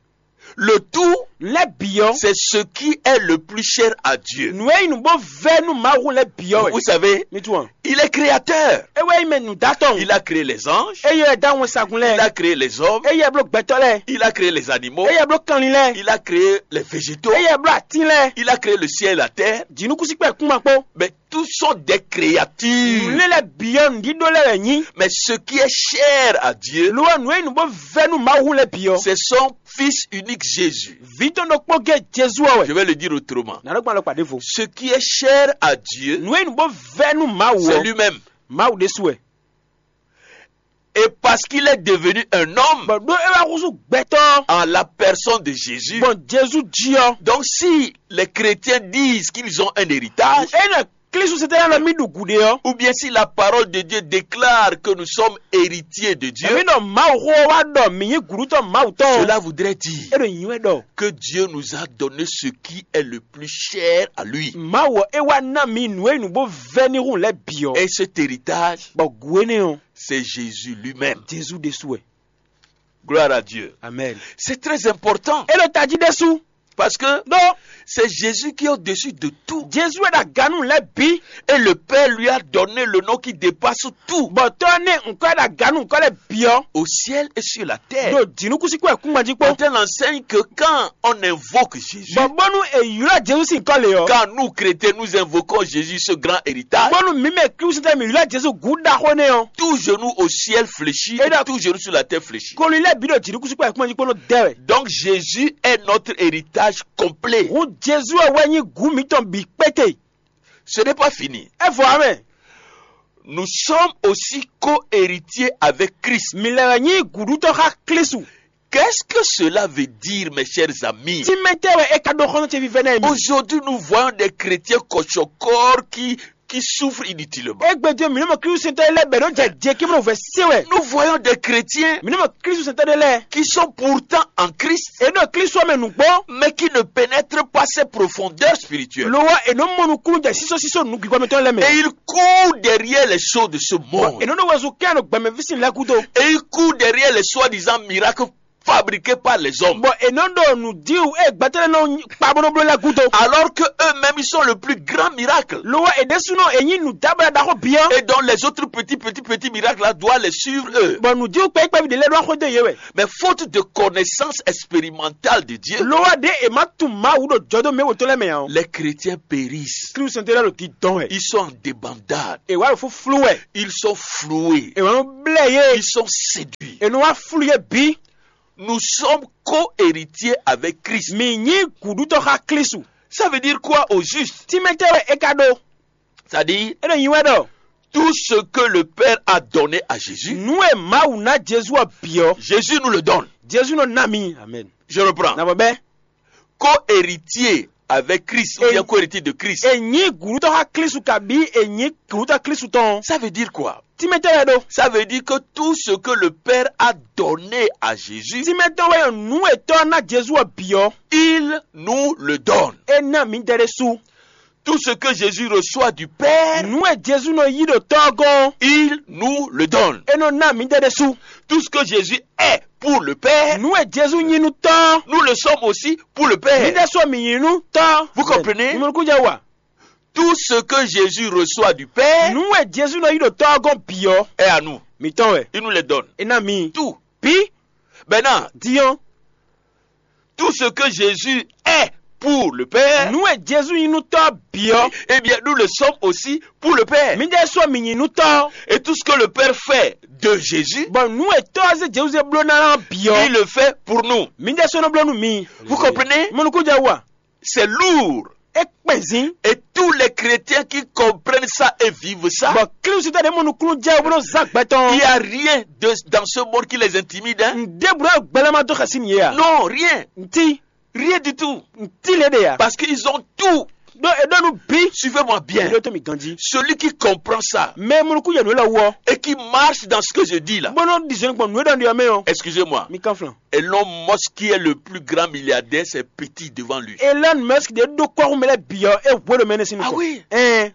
Le tout, Lɛ́ bǐ ɔ́, C'est ce qui est le plus cher à Dieu. Nǔ e nyí nǔ bó vɛ́ nú Mawu lɛ́ bǐ ɔ́ wɛ. Vous savez, Mi tunwun. Il est créateur. É wɛ nyí mɛ nǔdátɔ́. Il a créé les anges. É yɛ dá wɛnsagun Il lɛ́ɛ. A créé les hommes. É yɛ bló gbɛtɔ́ lɛ́ɛ. Il a créé les animaux. É yɛ bló kanlin lɛ́ɛ. Il a créé les végétaux. É yɛ bló atín lɛ́ɛ. Il a créé le ciel et la terre. Jǐnukúnsin kpɛ́ kúnma kpó. Mais tous sont des créatures. Nǔlélɛ́ bǐ ɔ́ nǔɖíɖó lɛ́ɛ wɛ nyí. Mais ce qui est cher à Dieu, Lo ɔ́, nǔ e nyí nǔ bó vɛ́ nú Mawu lɛ́ɛ bǐ ɔ́, C'est son Fils unique Jésus. Vǐ tɔn ɖokpó gé Jezu ɔ́ wɛ. Je vais le dire autrement. Nǎ ɖó gbɔn alɔkpa ɖěvo. Ce qui est cher à Dieu, Nǔ e nyí nǔ bó vɛ́ nú Mawu c'est ɔ́, Lui-même. Mawu ɖésú wɛ. Et parce qu'il est devenu un homme Bɔ ɖó é wá húzú gbɛtɔ́ en la personne de Jésus. Gbɔn Jezu jí ɔ́. Donc si les chrétiens disent qu'ils ont un héritage, Ényí Klísu se tɛ́ lɛ́ nɔ mì ɖu gǔɖé ɔ́, ou bien si la parole de Dieu déclare que nous sommes héritiers de Dieu, Mǐ ɖɔ Mawu xó ɔ́ wá ɖɔ mǐ nyí gǔɖutɔ́ Mawu tɔn. Cela voudrait dire É ɖo nyǐ wɛ ɖɔ que Dieu nous a donné ce qui est le plus cher à lui. Mawu ɔ́ é wá ná mǐ nǔ e nǔ bó vɛ́ n'i hun lɛ́ɛ bǐ ɔ́. Et cet héritage, Bɔ gǔ énɛ́ ɔ́, C'est Jésus lui-même. Jezu ɖésú wɛ. Gloire à Dieu. Amen. C'est très important. É ɖo tají ɖésú. Parce que Donc, c'est Jésus qui est au-dessus de tout. Jezu wɛ ɖo aga nú lɛ́ɛ bǐ. Et le Père lui a donné le nom qui dépasse tout. Bɔ tɔ́ nɛ́ ŋkɔ́ ɖo aga nú ŋkɔ́ lɛ́ɛ bǐ ɔ́. Au ciel et sur la terre. Ɖo jǐnukúnsin kpó kúngbɔ́n jí kpó. Quand on enseigne que quand on invoque Jésus, Bɔ bónú è ylɔ́ Jezu sín kɔ́ lě ɔ́. Quand nous chrétiens nous invoquons Jésus, ce grand héritage, Bónú mǐ mɛ Klísu tɛ́ mǐ ylɔ́ Jezu gǔ ɖaxó nɛ́ ɔ́. Tout genou au ciel fléchit, Et donc, tout genou sur la terre fléchit. Koli lɛ́ɛ bǐ ɖo jǐnukúnsin kpó kúngbɔ́n jí kpó nɔ dɛ wɛ. Donc Jésus est notre héritage complet. Hǔn Jezu ɔ́ wɛ nyí gǔ mǐtɔn bǐ kpéte. Ce n'est pas fini. É vɔ ǎ mɛ. Nous sommes aussi co-héritiers avec Christ. Mǐ lɛ́ wɛ nyí gǔɖutɔ́ xá Klísu. Qu'est-ce que cela veut dire, mes chers amis? Tínmɛ tɛ́ wɛ é ka ɖó xɔ́ntɔn ce vívɛ́ná e mi? Aujourd'hui, nous voyons des chrétiens kɔchɔkɔr qui qui souffrent inutilement. Égbé din mǐ nɔ mɔ Klísu sɛntɔ́ lɛ́ɛ bɔ è nɔ jɛ jɛ kí bó nɔ vɛ̌ se wɛ. Nous voyons des chrétiens Mǐ nɔ mɔ Klísu sɛntɔ́ ɖé lɛ́ɛ. Qui sont pourtant en Christ, È ɖo Klísu ɔ́ mɛ nǔgbó. Mais qui ne pénètrent pas ces profondeurs spirituelles. Lo ɔ́, è nɔ mɔ nukúnnú jɛ sísɔ́sísɔ́ nǔ gbígbá mǐtɔn lɛ́ɛ mɛ. Et ils courent derrière les choses de ce monde. È nɔ ɖo wezun kɛ́n ɖo gbɛmɛví sin lɛ́ɛ gúdo. Et ils courent derrière les soi-disant miracles fabriqués par les hommes. Bɔ è nɔ ɖo nǔ dí wú e gbɛtɔ́ lɛ́ɛ nɔ kpa bó nɔ bló lɛ́ɛ gúdo. Alors que eux-mêmes, ils sont le plus grand miracle. Lo ɔ́, è ɖésúnɔ è nyí nǔdábla ɖaxó bǐ ɔ́. Et donc les autres petits, petits, petits miracles là doivent les suivre eux. Bɔ nǔdíwú kpɛ́kpɛ́ví ɖé lɛ́ɛ ɖó axwé dó yě wɛ. Mais faute de connaissance expérimentale de Dieu, Lo ɔ́ ɖé è má tunwun Mawu ɖo jɔdó mɛ wǒtɔn lɛ́ɛ mɛ ǎ ɔ́. Les chrétiens périssent. Klísu sɛntɔ́ lɛ́ɛ ɖo didɔn wɛ. Ils sont en débandade. È wá ɖo fúflú wɛ. Ils sont floués. È wá nɔ blɛ́ yé. Ils sont séduits. È nɔ wá flú yé bǐ. Nous sommes co-héritiers avec Christ. Mǐ nyí gǔɖutɔ́ xá Klísu. Ça veut dire quoi au juste? Tínmɛ tɛ́ wɛ é ka ɖó? C'est-à-dire, É ɖo nyi wɛ ɖɔ tout ce que le Père a donné à Jésus, nǔ e Mawu ná Jezu ɔ́ bǐ ɔ́, Jésus nous le donne. Jezu nɔ ná mi. Amen. Je reprends. Na vɔ bɛ́. Co-héritier avec Christ ou Et bien co-héritier de Christ. È nyí gǔɖutɔ́ xá Klísu kabǐ è nyí gǔɖutɔ́ Klísu tɔn. Ça veut dire quoi? Tínmɛ tɛ́ wɛ ɖó? Ça veut dire que tout ce que le Père a donné à Jésus, Tínmɛ tɔn wɛ nǔ e tɔ́ ná Jezu ɔ́ bǐ ɔ́, il nous le donne. É ná mǐdɛɛ ɖésú. Tout ce que Jésus reçoit du Père, Nǔ e Jezu nɔ yí ɖo tɔ́ ɔ́ gɔ́n ɔ́, il nous le donne. É nɔ ná mǐdɛɛ ɖésú. Tout ce que Jésus est pour le Père, Nǔ e Jezu nyí nú tɔ́ ɔ́, Nous le sommes aussi pour le Père. Mǐdɛɛ sɔ mǐ nyí nú tɔ́. Vous comprenez? Nyumɔnukúnjɛ wa. Tout ce que Jésus reçoit du Père, Nǔ e Jezu nɔ yí ɖo tɔ́ ɔ́ gɔ́n bǐ ɔ́, Est à nous. Mǐtɔn wɛ. Il nous les donne. É ná mi. Tout. Bǐ. Maintenant, Diɔn. Tout ce que Jésus est pour le Père, Nǔ e Jezu nyí nú tɔ́ bǐ ɔ́, eh bien, nous le sommes aussi pour le Père. Mǐdɛɛ sɔ mǐ nyí nú tɔ́. Et tout ce que le Père fait de Jésus, Bɔ nǔ e tɔ́ ɔ́ zé Jezu zé bló ná ɔ́ bǐ ɔ́, Il le fait pour nous. Mǐdɛɛ sɔ nɔ bló nú mi. Vous comprenez? Mɔnukúnjɛ wa. C'est lourd. É kpɛn zin. Et tous les chrétiens qui comprennent ça et vivent ça, Bɔ Klísu tɛ́ ɖě mɔ nukúnnú jɛ bó nɔ zán gbɛ tɔn. Il n'y a rien de, dans ce monde qui les intimide, hein? Ǹdébǔ ɖɔ gbɛlɛ́ ma dó xɛsi nyi yě a? Non, rien. Ntí. Rien du tout. Ntí lě ɖe a? Parce qu'ils ont tout. Ɖó è ɖó nú bǐ. Suivez-moi bien. Ɖó tó mi ganjí. Celui qui comprend ça Mɛ e mɔ nukún yɛ nǔ élɔ́ wú ɔ́, et qui marche dans ce que je dis là, Bó nɔ ɖi zɔn gbɔn nǔ e ɖɔ nɖi ɔ́ mɛ ɔ́. Excusez-moi. Mi kánflán. Elon Musk, qui est le plus grand milliardaire, c'est petit devant lui. Elon Musk ɖě ɖó kɔ́xú mɛ lɛ́ɛ bǐ ɔ́, é hwe ɖo mɛ énɛ́ sín Ah nukɔn. Oui. Ɛn.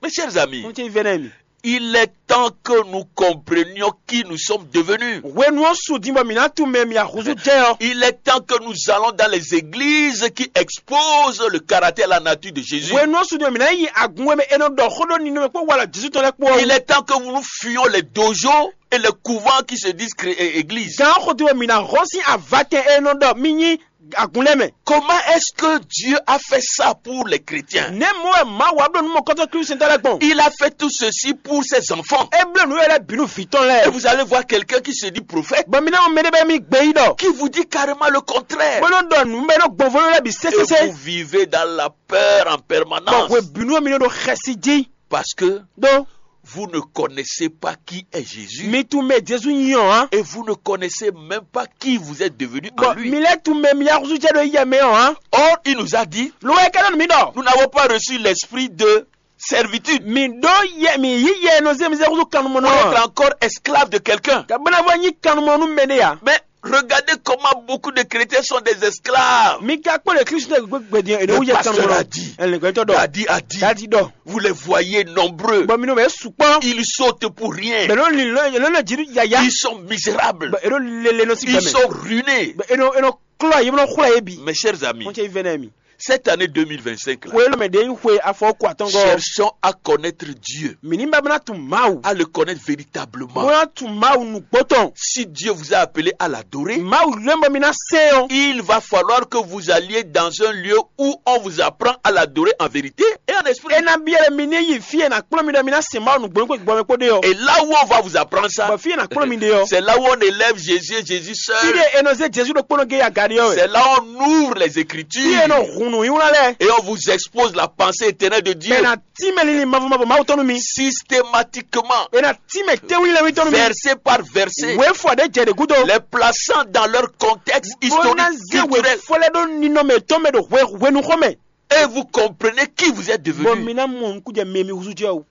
Mes chers amis, Xɔ́ntɔn vɛ́nɛ́ mi. Il est temps que nous comprenions qui nous sommes devenus. Hwenu ɔ́ su din bɔ mǐ ná tunwun mɛ mǐ axúzú jɛ ɔ́. Il est temps que nous allons dans les églises qui exposent le caractère et la nature de Jésus. Hwenu ɔ́ su din bɔ mǐ ná yi agun e mɛ è nɔ ɖɔ xó ɖó ninɔmɛ kpó walɔ Jezu tɔn lɛ́ɛ kpó ɔ́. Il est temps que nous fuyions les dojos et les couvents qui se disent cré- é- églises. Gǎn xo din bɔ mǐ ná hɔn sín avatɛn e è nɔ ɖɔ mì nyí agun lɛ́ɛ mɛ. Comment est-ce que Dieu a fait ça pour les chrétiens? Nɛ̌ mɔ wɛ Mawu wá bló nǔ mɔkɔ́tɔn Klísu sɛntɔ́ lɛ́ɛ gbɔn? Il a fait tout ceci pour ses enfants. É bló nǔ e lɛ́ɛ bǐ nú vǐ tɔn Et lɛ́ɛ. Vous allez voir quelqu'un qui se dit prophète, Bɔ mi ná mɔ mɛ ɖé bɔ mi gbɛ yí ɖɔ. Qui vous dit carrément le contraire. Bó nɔ ɖɔ nǔ bɔ é nɔ gbɔn vo lɛ́ɛ bǐ Et sésésé. Vous vivez dans la peur en Bɔ permanence. Hwe bǐ nú mi nɔ ɖo xɛsi jí. Parce que Ɖó vous ne connaissez pas qui est Jésus. Mi tunwun mɛ Jezu nyí ɔ́ ǎ. Et vous ne connaissez même pas qui vous êtes devenu en Bɔ lui. Mi lɛ́ tunwun mɛ mi yá húzú jɛ ɖo yɛ mɛ ɔ́ ǎ. Or, il nous a dit, Lo wɛ é ka ɖɔ nú mi ɖɔ. Nous n'avons pas reçu l'esprit de servitude. Mi ɖó yɛ mi yí yɛ e nɔ zé mi zé húzú kannumɔ Pour nɔ être ǎ. Encore esclave de quelqu'un. Ka bó ná vɔ nyí kannumɔ nú mɛ ɖé ǎ. Mais regardez comment beaucoup de chrétiens sont des esclaves. Mi ka kpɔ́n ɖe Klísu tɛ gbɛgbɛ din e ɖo Le wú yɛ pasteur kannumɔ a nɔ. Dit. Ɛlɛngbɛtɔ ɖɔ. Dadi a dit. Dadi ɖɔ. Vous les voyez nombreux. Bɔ mi nɔ bɛ sukpɔ. Ils sautent pour rien. Bɛ lɔ lin lɔ lɔ lɔ jiri yaya. Ils sont misérables. Bɛ ero lele nɔ si Ils gbɛmɛ. Sont ruinés. Bɛ ero ero klɔ ye bɛ xlɔ ye bi. Mes chers amis, Kɔn cɛ ifɛ nɛ mi. Cette année deux mille vingt-cinq là, Xwe lɔ mɛ de yi xwe afɔ ko atɔngɔ. Cherchons à connaître Dieu, Mi ni ba bana tun Mawu. À le connaître véritablement. Mo ya tun Mawu nu gbɔtɔn. Si Dieu vous a appelé à l'adorer, Mawu lɛ bɔ mi na se o. Il va falloir que vous alliez dans un lieu où on vous apprend à l'adorer en vérité et en esprit. E na biɛ mi ni yi fi e na kplɔn mi ɖɔ mi na se Mawu nu gbɔn kó gbɔn kó de o. Et là où on va vous apprendre ça, Bɔ fi e na kplɔn mi de o. C'est là où on élève Jésus et Jésus seul. Fi de e nɔ ze Jesu ɖo kpɔnɔ ge ya gari o. C'est là où on ouvre les Écritures. Fi e nɔ hunu yi wla lɛ. Et on vous expose la pensée éternelle de Dieu. Bɛ na ti mɛ lili mavɔ mavɔ Mawu tɔnu mi. Systématiquement. E na ti mɛ tewu lɛ wi tɔnu mi. Verset par verset. Wefɔ de jɛ de gudo. Les plaçant dans leur contexte historique, culturel. Bo na ze wefɔ lɛ ɖo ninɔmɛ tɔn mɛ ɖo hwe hwenu xɔ mɛ. Et vous comprenez qui vous êtes devenu. Bɔ mi ná mɔ nukúnjɛ mɛ mi húzú jɛ o.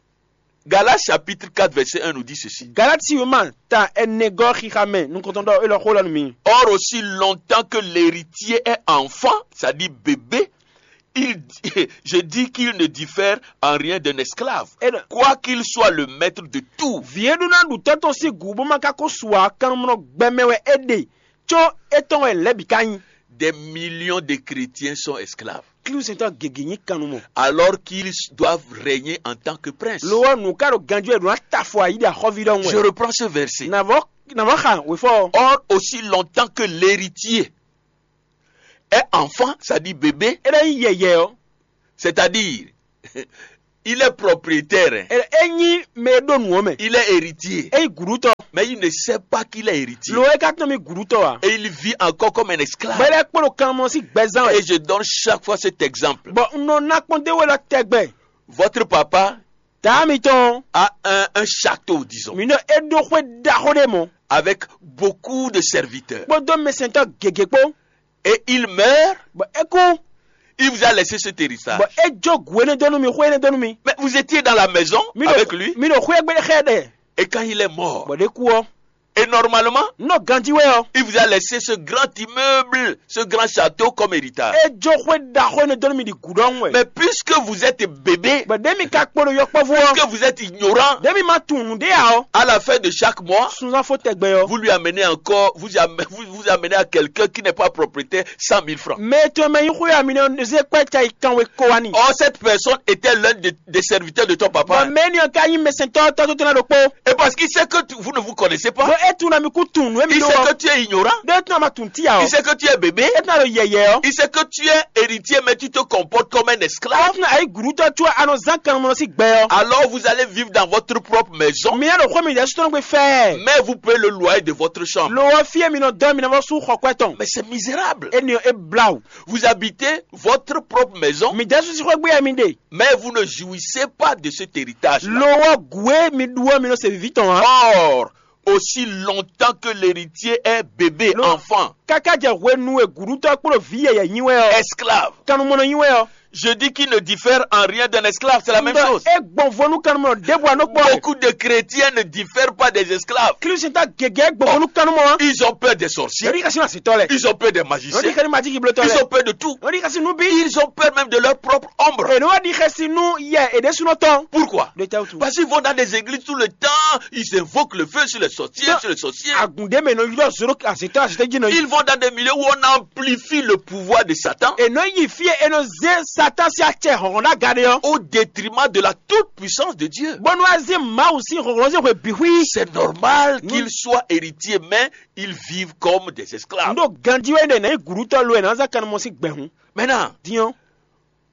Galates chapitre quatre verset un nous dit ceci. Galati wěma ta ɛnɛgɔ́ xixa mɛ nukɔntɔn ɖɔ élɔ́ xó lɔ nú mi. Or, aussi longtemps que l'héritier est enfant, c'est-à-dire bébé, il, je dis qu'il ne diffère en rien d'un esclave, Et le- quoi qu'il soit le maître de tout. Vǐ e ɖó ná ɖu tɔ́ tɔn sín gǔ bó ma ka ko su ǎ, kannumɔnɔ gbɛmɛ wɛ é ɖe, có étɔn wɛ lɛ̌ bǐ ka nyí. Des millions de chrétiens sont esclaves. Klísu sɛntɔ́ gěgé nyí kannumɔ. Alors qu'ils doivent régner en tant que princes. Lo ɔ́, nǔ ka ɖo ganjí wɛ ɖo ná ta afɔ ayǐ ɖi axɔ́ví ɖɔhun Je wɛ. Reprends ce verset. Navɔ navɔ xa wěfɔ ɔ́. Or, aussi longtemps que l'héritier est enfant, c'est-à-dire bébé, É ɖo nyí yɛyɛ ɔ́. C'est-à-dire, il est propriétaire, hein. É é nyí mɛ e ɖó nǔ ɔ́ mɛ. Il est héritier. É nyí gǔɖútɔ. Mais il ne sait pas qu'il est héritier. Lo é ka tɔ́n mì gǔɖútɔ ǎ. Et il vit encore comme un esclave. Bɔ é lɛ́ kpó ɖo kannumɔ sín gbɛzán wɛ. Et je donne chaque fois cet exemple. Bɔ un nɔ ná kpɔ́n d'é wú élɔ́ tɛgbɛ. Votre papa Taa mitɔn a un, un château, disons, mi nɔ é ɖó xwé ɖaxó ɖé mɔ̌, avec beaucoup de serviteurs. Kpódó mɛsɛntɔ́ gěgé kpó. Et il meurt, Bɔ é kú, il vous a laissé cet héritage. Bɔ é jó gǔ énɛ́ dó nú mi, xwé énɛ́ dó nú mi. Mais vous étiez dans la maison Mi ɖo avec lui. Mi ɖo xwé égbé xɛ ɖɛ. Et quand il est mort, Bɔ ɖé kú ɔ́, Et normalement, nɔ ganjí wɛ ɔ́, il vous a laissé ce grand immeuble, ce grand château comme héritage. É jó xwé ɖaxó énɛ́ dó nú mi ɖi gǔ ɖɔhun wɛ. Mais puisque vous êtes bébé, Bɔ ɖé mi ka kpo ɖo yɔkpɔ́vú ɔ́, Puisque vous êtes ignorant, Ɖé mi ma tunwun nǔɖé ǎ ɔ́, À la fin de chaque mois, Sunzán fó tɛgbɛ ɔ́, Vous lui amenez encore, vous, am- vous, vous amenez à quelqu'un qui n'est pas propriétaire cent mille francs. Mɛ tɔn mɛ nyí xwé ami nɔ zé kpɛ́ ca yi kanwe ko wá ni. Or, cette personne était l'un des, des serviteurs de ton Bɔ papa. Mɛ énɛ́ ɔ́ ka nyí mɛsɛntɔ́ tɔ́ tó tɔn ɖokpó. Et parce qu'il sait que tu- vous ne vous connaissez pas, Bɔ é tunwun mi kú tunwun nǔ émi il ɖó sait que ɔ́. Tu es ignorant, Ɖó é tunwun ma tunwun tí ǎ ɔ́. Il sait que tu es bébé, É tunwun ɖo yɛyɛ ɔ́. Il sait que tu es héritier, mais tu te comportes comme un esclave. Tunwun ayi gǔɖútɔ́ tún a nɔ zán kannumɔ sín gbɛ ɔ́. Alors vous allez vivre dans votre propre maison, Mi ná ɖo xwé mi ɖɛ̌ sutɔ́ gbe fɛ́ɛ. Mais vous payez le loyer de votre chambre. Lo ɔ́ fí e mi nɔ dɔn mi ná vɔ sú xɔ kwɛ tɔn. Mais c'est misérable. Énɛ́ ɔ́ é blá wǔ. Vous habitez votre propre maison, Mi ɖɛ̌ sú sí xwé gbé mi ɖe. Mais vous ne jouissez pas de cet héritage-là. Lo ɔ́ gǔ e mi ɖu ɔ́ mi nɔ se vǐví tɔn ǎ. Or, aussi longtemps que l'héritier est bébé, Lo- enfant, Káká jɛ hwenu e gǔɖútɔ́ kpló vǐ yɛyɛ nyi wɛ ɔ́. Esclave, Kannumɔnɔ nyi wɛ ɔ́. Je dis qu'il ne diffère en rien d'un esclave, c'est la même chose. É gbɔn vo nú kannumɔnɔ ɖěbǔ anɔkpɔ. Beaucoup de chrétiens ne diffèrent pas des esclaves. Klísita gěgé gbɔn vo nú kannumɔ ɔ́. Ils ont peur des sorciers. Yɔdi kasi na sitɔ lɛ. Ils ont peur des magiciens. Yɔdi kasi majiki blotɔ lɛ. Ils ont peur de tout. Yɔdi kasi nubi. Ils ont peur même de leur propre ombre. Eno wadi kasi nu yɛ ede sunɔ tɔn. Pourquoi? De tɛ tu. Parce qu'ils vont dans des églises tout le temps, ils invoquent le feu sur les sorciers, sur les sorciers. Agunde mɛ nɔ yɔ zoro asitɔ asitɔ dzi nɔ yi. Ils vont dans des milieux où on amplifie le pouvoir de Satan. Eno yi fie eno ze Satan si acɛ hɔn na gade yɔ. Au détriment de la toute puissance de Dieu. Bɔnu aze mawu si hɔn si hwe bihwi. C'est normal qu'ils soient héritiers, mais ils vivent comme des esclaves. Ndo ganji wɛ ne na yi gurutɔ lo ena za kanumɔ si gbɛhun. Maintenant, Dion.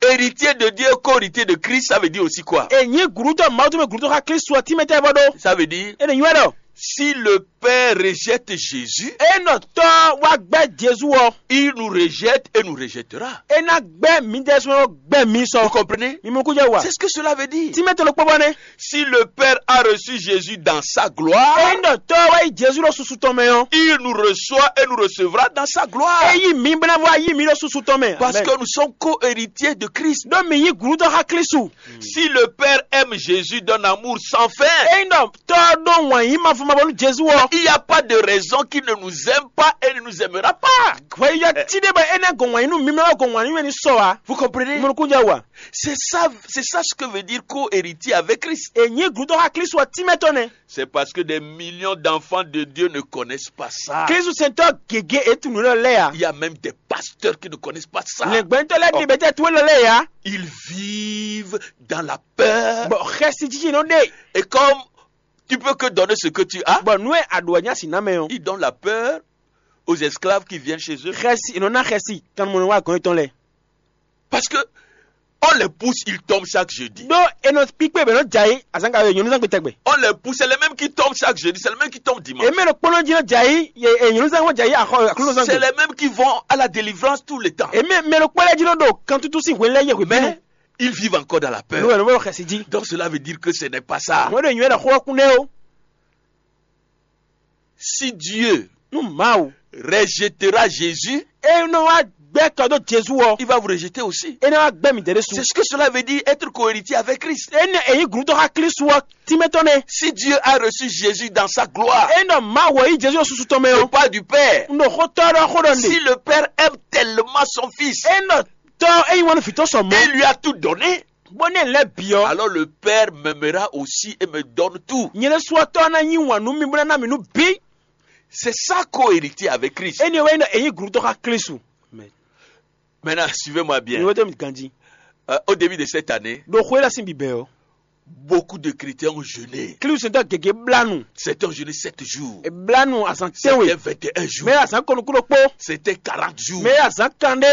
Héritier de Dieu, co-héritier de Christ, ça veut dire aussi quoi? E nyi gurutɔ mawu tun mɛ gurutɔ xa Kristu ɔ timɛ tɛ bɔ ɖo. Ça veut dire, E ne nyi wɛ ɖɔ. Si le Père rejette Jésus, E nɔ tɔ wa gbɛ Jesu ɔ. Il nous rejette et nous rejettera. E na gbɛ mi dɛ sɔn gbɛ mi sɔ. Vous comprenez? Mi mu kujɛ wa. C'est ce que cela veut dire. Timɛ tɛ lo kpɔ bɔ ne. Si le Père a reçu Jésus dans sa gloire, E nɔ tɔ wa yi Jesu ɖo susu tɔn mɛ ɔ. Il nous reçoit et nous recevra dans sa gloire. E yi mi bena wa yi mi ɖo susu tɔn mɛ. Parce que nous sommes co-héritiers de Christ. Ɖo mi yi gurutɔ xa Kristu. Si le Père aime Jésus d'un amour sans fin, E nɔ tɔ ɖo wɔn yi ma fɔ ma bɔ nu Jesu ɔ. Il n'y a pas de raison qu'il ne nous aime pas et ne nous aimera pas. Hweyɔ ti ɖe bɔ e na gɔn wɔn yi nu mi ma gɔn wɔn yi nu sɔ wa. Vous comprenez? Mo kun jɛ wa. C'est ça, c'est ça ce que veut dire co-héritier avec Christ. E nyi gurutɔ xa Kristu ɔ timɛ tɔ ne. C'est parce que des millions d'enfants de Dieu ne connaissent pas ça. Kristu sɛntɔ gege e tunu lɔ lɛ ya. Il y a même des pasteurs qui ne connaissent pas ça. Lɛngbɛntɔ lɛ ni bɛ tɛ tuwe lɔ lɛ ya. Ils vivent dans la peur. Bɔn xɛsi jiji nɔ de. Et comme tu peux que donner ce que tu as, Bɔn nu e a ɖo anya si na mɛ o. Ils donnent la peur aux esclaves qui viennent chez eux. Xɛsi e nɔ na xɛsi kanumɔ wa gɔn etɔn lɛ. Parce que on les pousse, ils tombent chaque jeudi. Ɖo e nɔ kpikpe bɛ nɔ dza yi azanga yɔ nyɔnu zangbe tɛgbɛ. On les pousse, c'est les mêmes qui tombent chaque jeudi, c'est les mêmes qui tombent dimanche. Eme ɖo kpɔnɔ dzi nɔ dza yi ye e nyɔnu zangbe dza yi axɔ akɔlɔ zangbe. C'est les mêmes qui vont à la délivrance tout le temps. Eme mɛ ɖo kpɔnɔ dzi nɔ ɖo kantutu si hwelɛ ye hwe bɛnu. Mais ils vivent encore dans la peur. Nɔ wɛ nɔ wɛ xɛsi dzi. Donc cela veut dire que ce n'est pas ça. Mɔ ɖe nyuɛ ɖe xɔ kun ɖe o. Si Dieu Nu Mawu rejettera Jésus, e nɔ wa gbɛ́ kɔ dó Jezu ɔ́, il va vous rejeter aussi. É ná wá gbɛ́ mǐdɛɛ ɖésú. C'est ce que cela veut dire, être co-héritier avec Christ. Énɛ́ e nyí gǔdo xá Klísu ɔ́ tínmɛ tɔn nɛ́. Si Dieu a reçu Jésus dans sa gloire, Énɛ́ Mawu ɔ yí Jezu ɔ́ susu tɔn mɛ ɔ́, pas du Père, un ɖo xó tɔ́ ɖɔ xó ɖɔ nde. Si le Père aime tellement son Fils, Énɛ́ tɔ́ e nyí wɛn nú vǐ tɔn sɔ mɔ̌, Et lui a tout donné, bó ní ɛ lɛ́ bǐ ɔ́, alors le Père m'aimera aussi et me donne tout. Nyɛ ɖésú ɔ́ tɔ́ ná nyí wǎn nú mì bó ná ná mì nú bǐ. C'est ça, co-héritier avec Christ. Énɛ́ wɛ nyí ɖɔ è nyí gǔdo xá Klísu. Maintenant, suivez-moi bien. Mi wétó mi ganjí. Euh, au début de cette année, Ɖo xwé lɛ́ɛ sín bǐbɛ́ ɔ́, beaucoup de chrétiens ont jeûné. Klísu sɛntɔ́ gěgé blá nu. Certains ont jeûné sept jours. È blá nu azǎn Certains tɛ́nwe. Vingt et un jours. Mɛ azǎn kɔnukúɖokpó. Certains quarante jours. Mɛ azǎn kanɖé.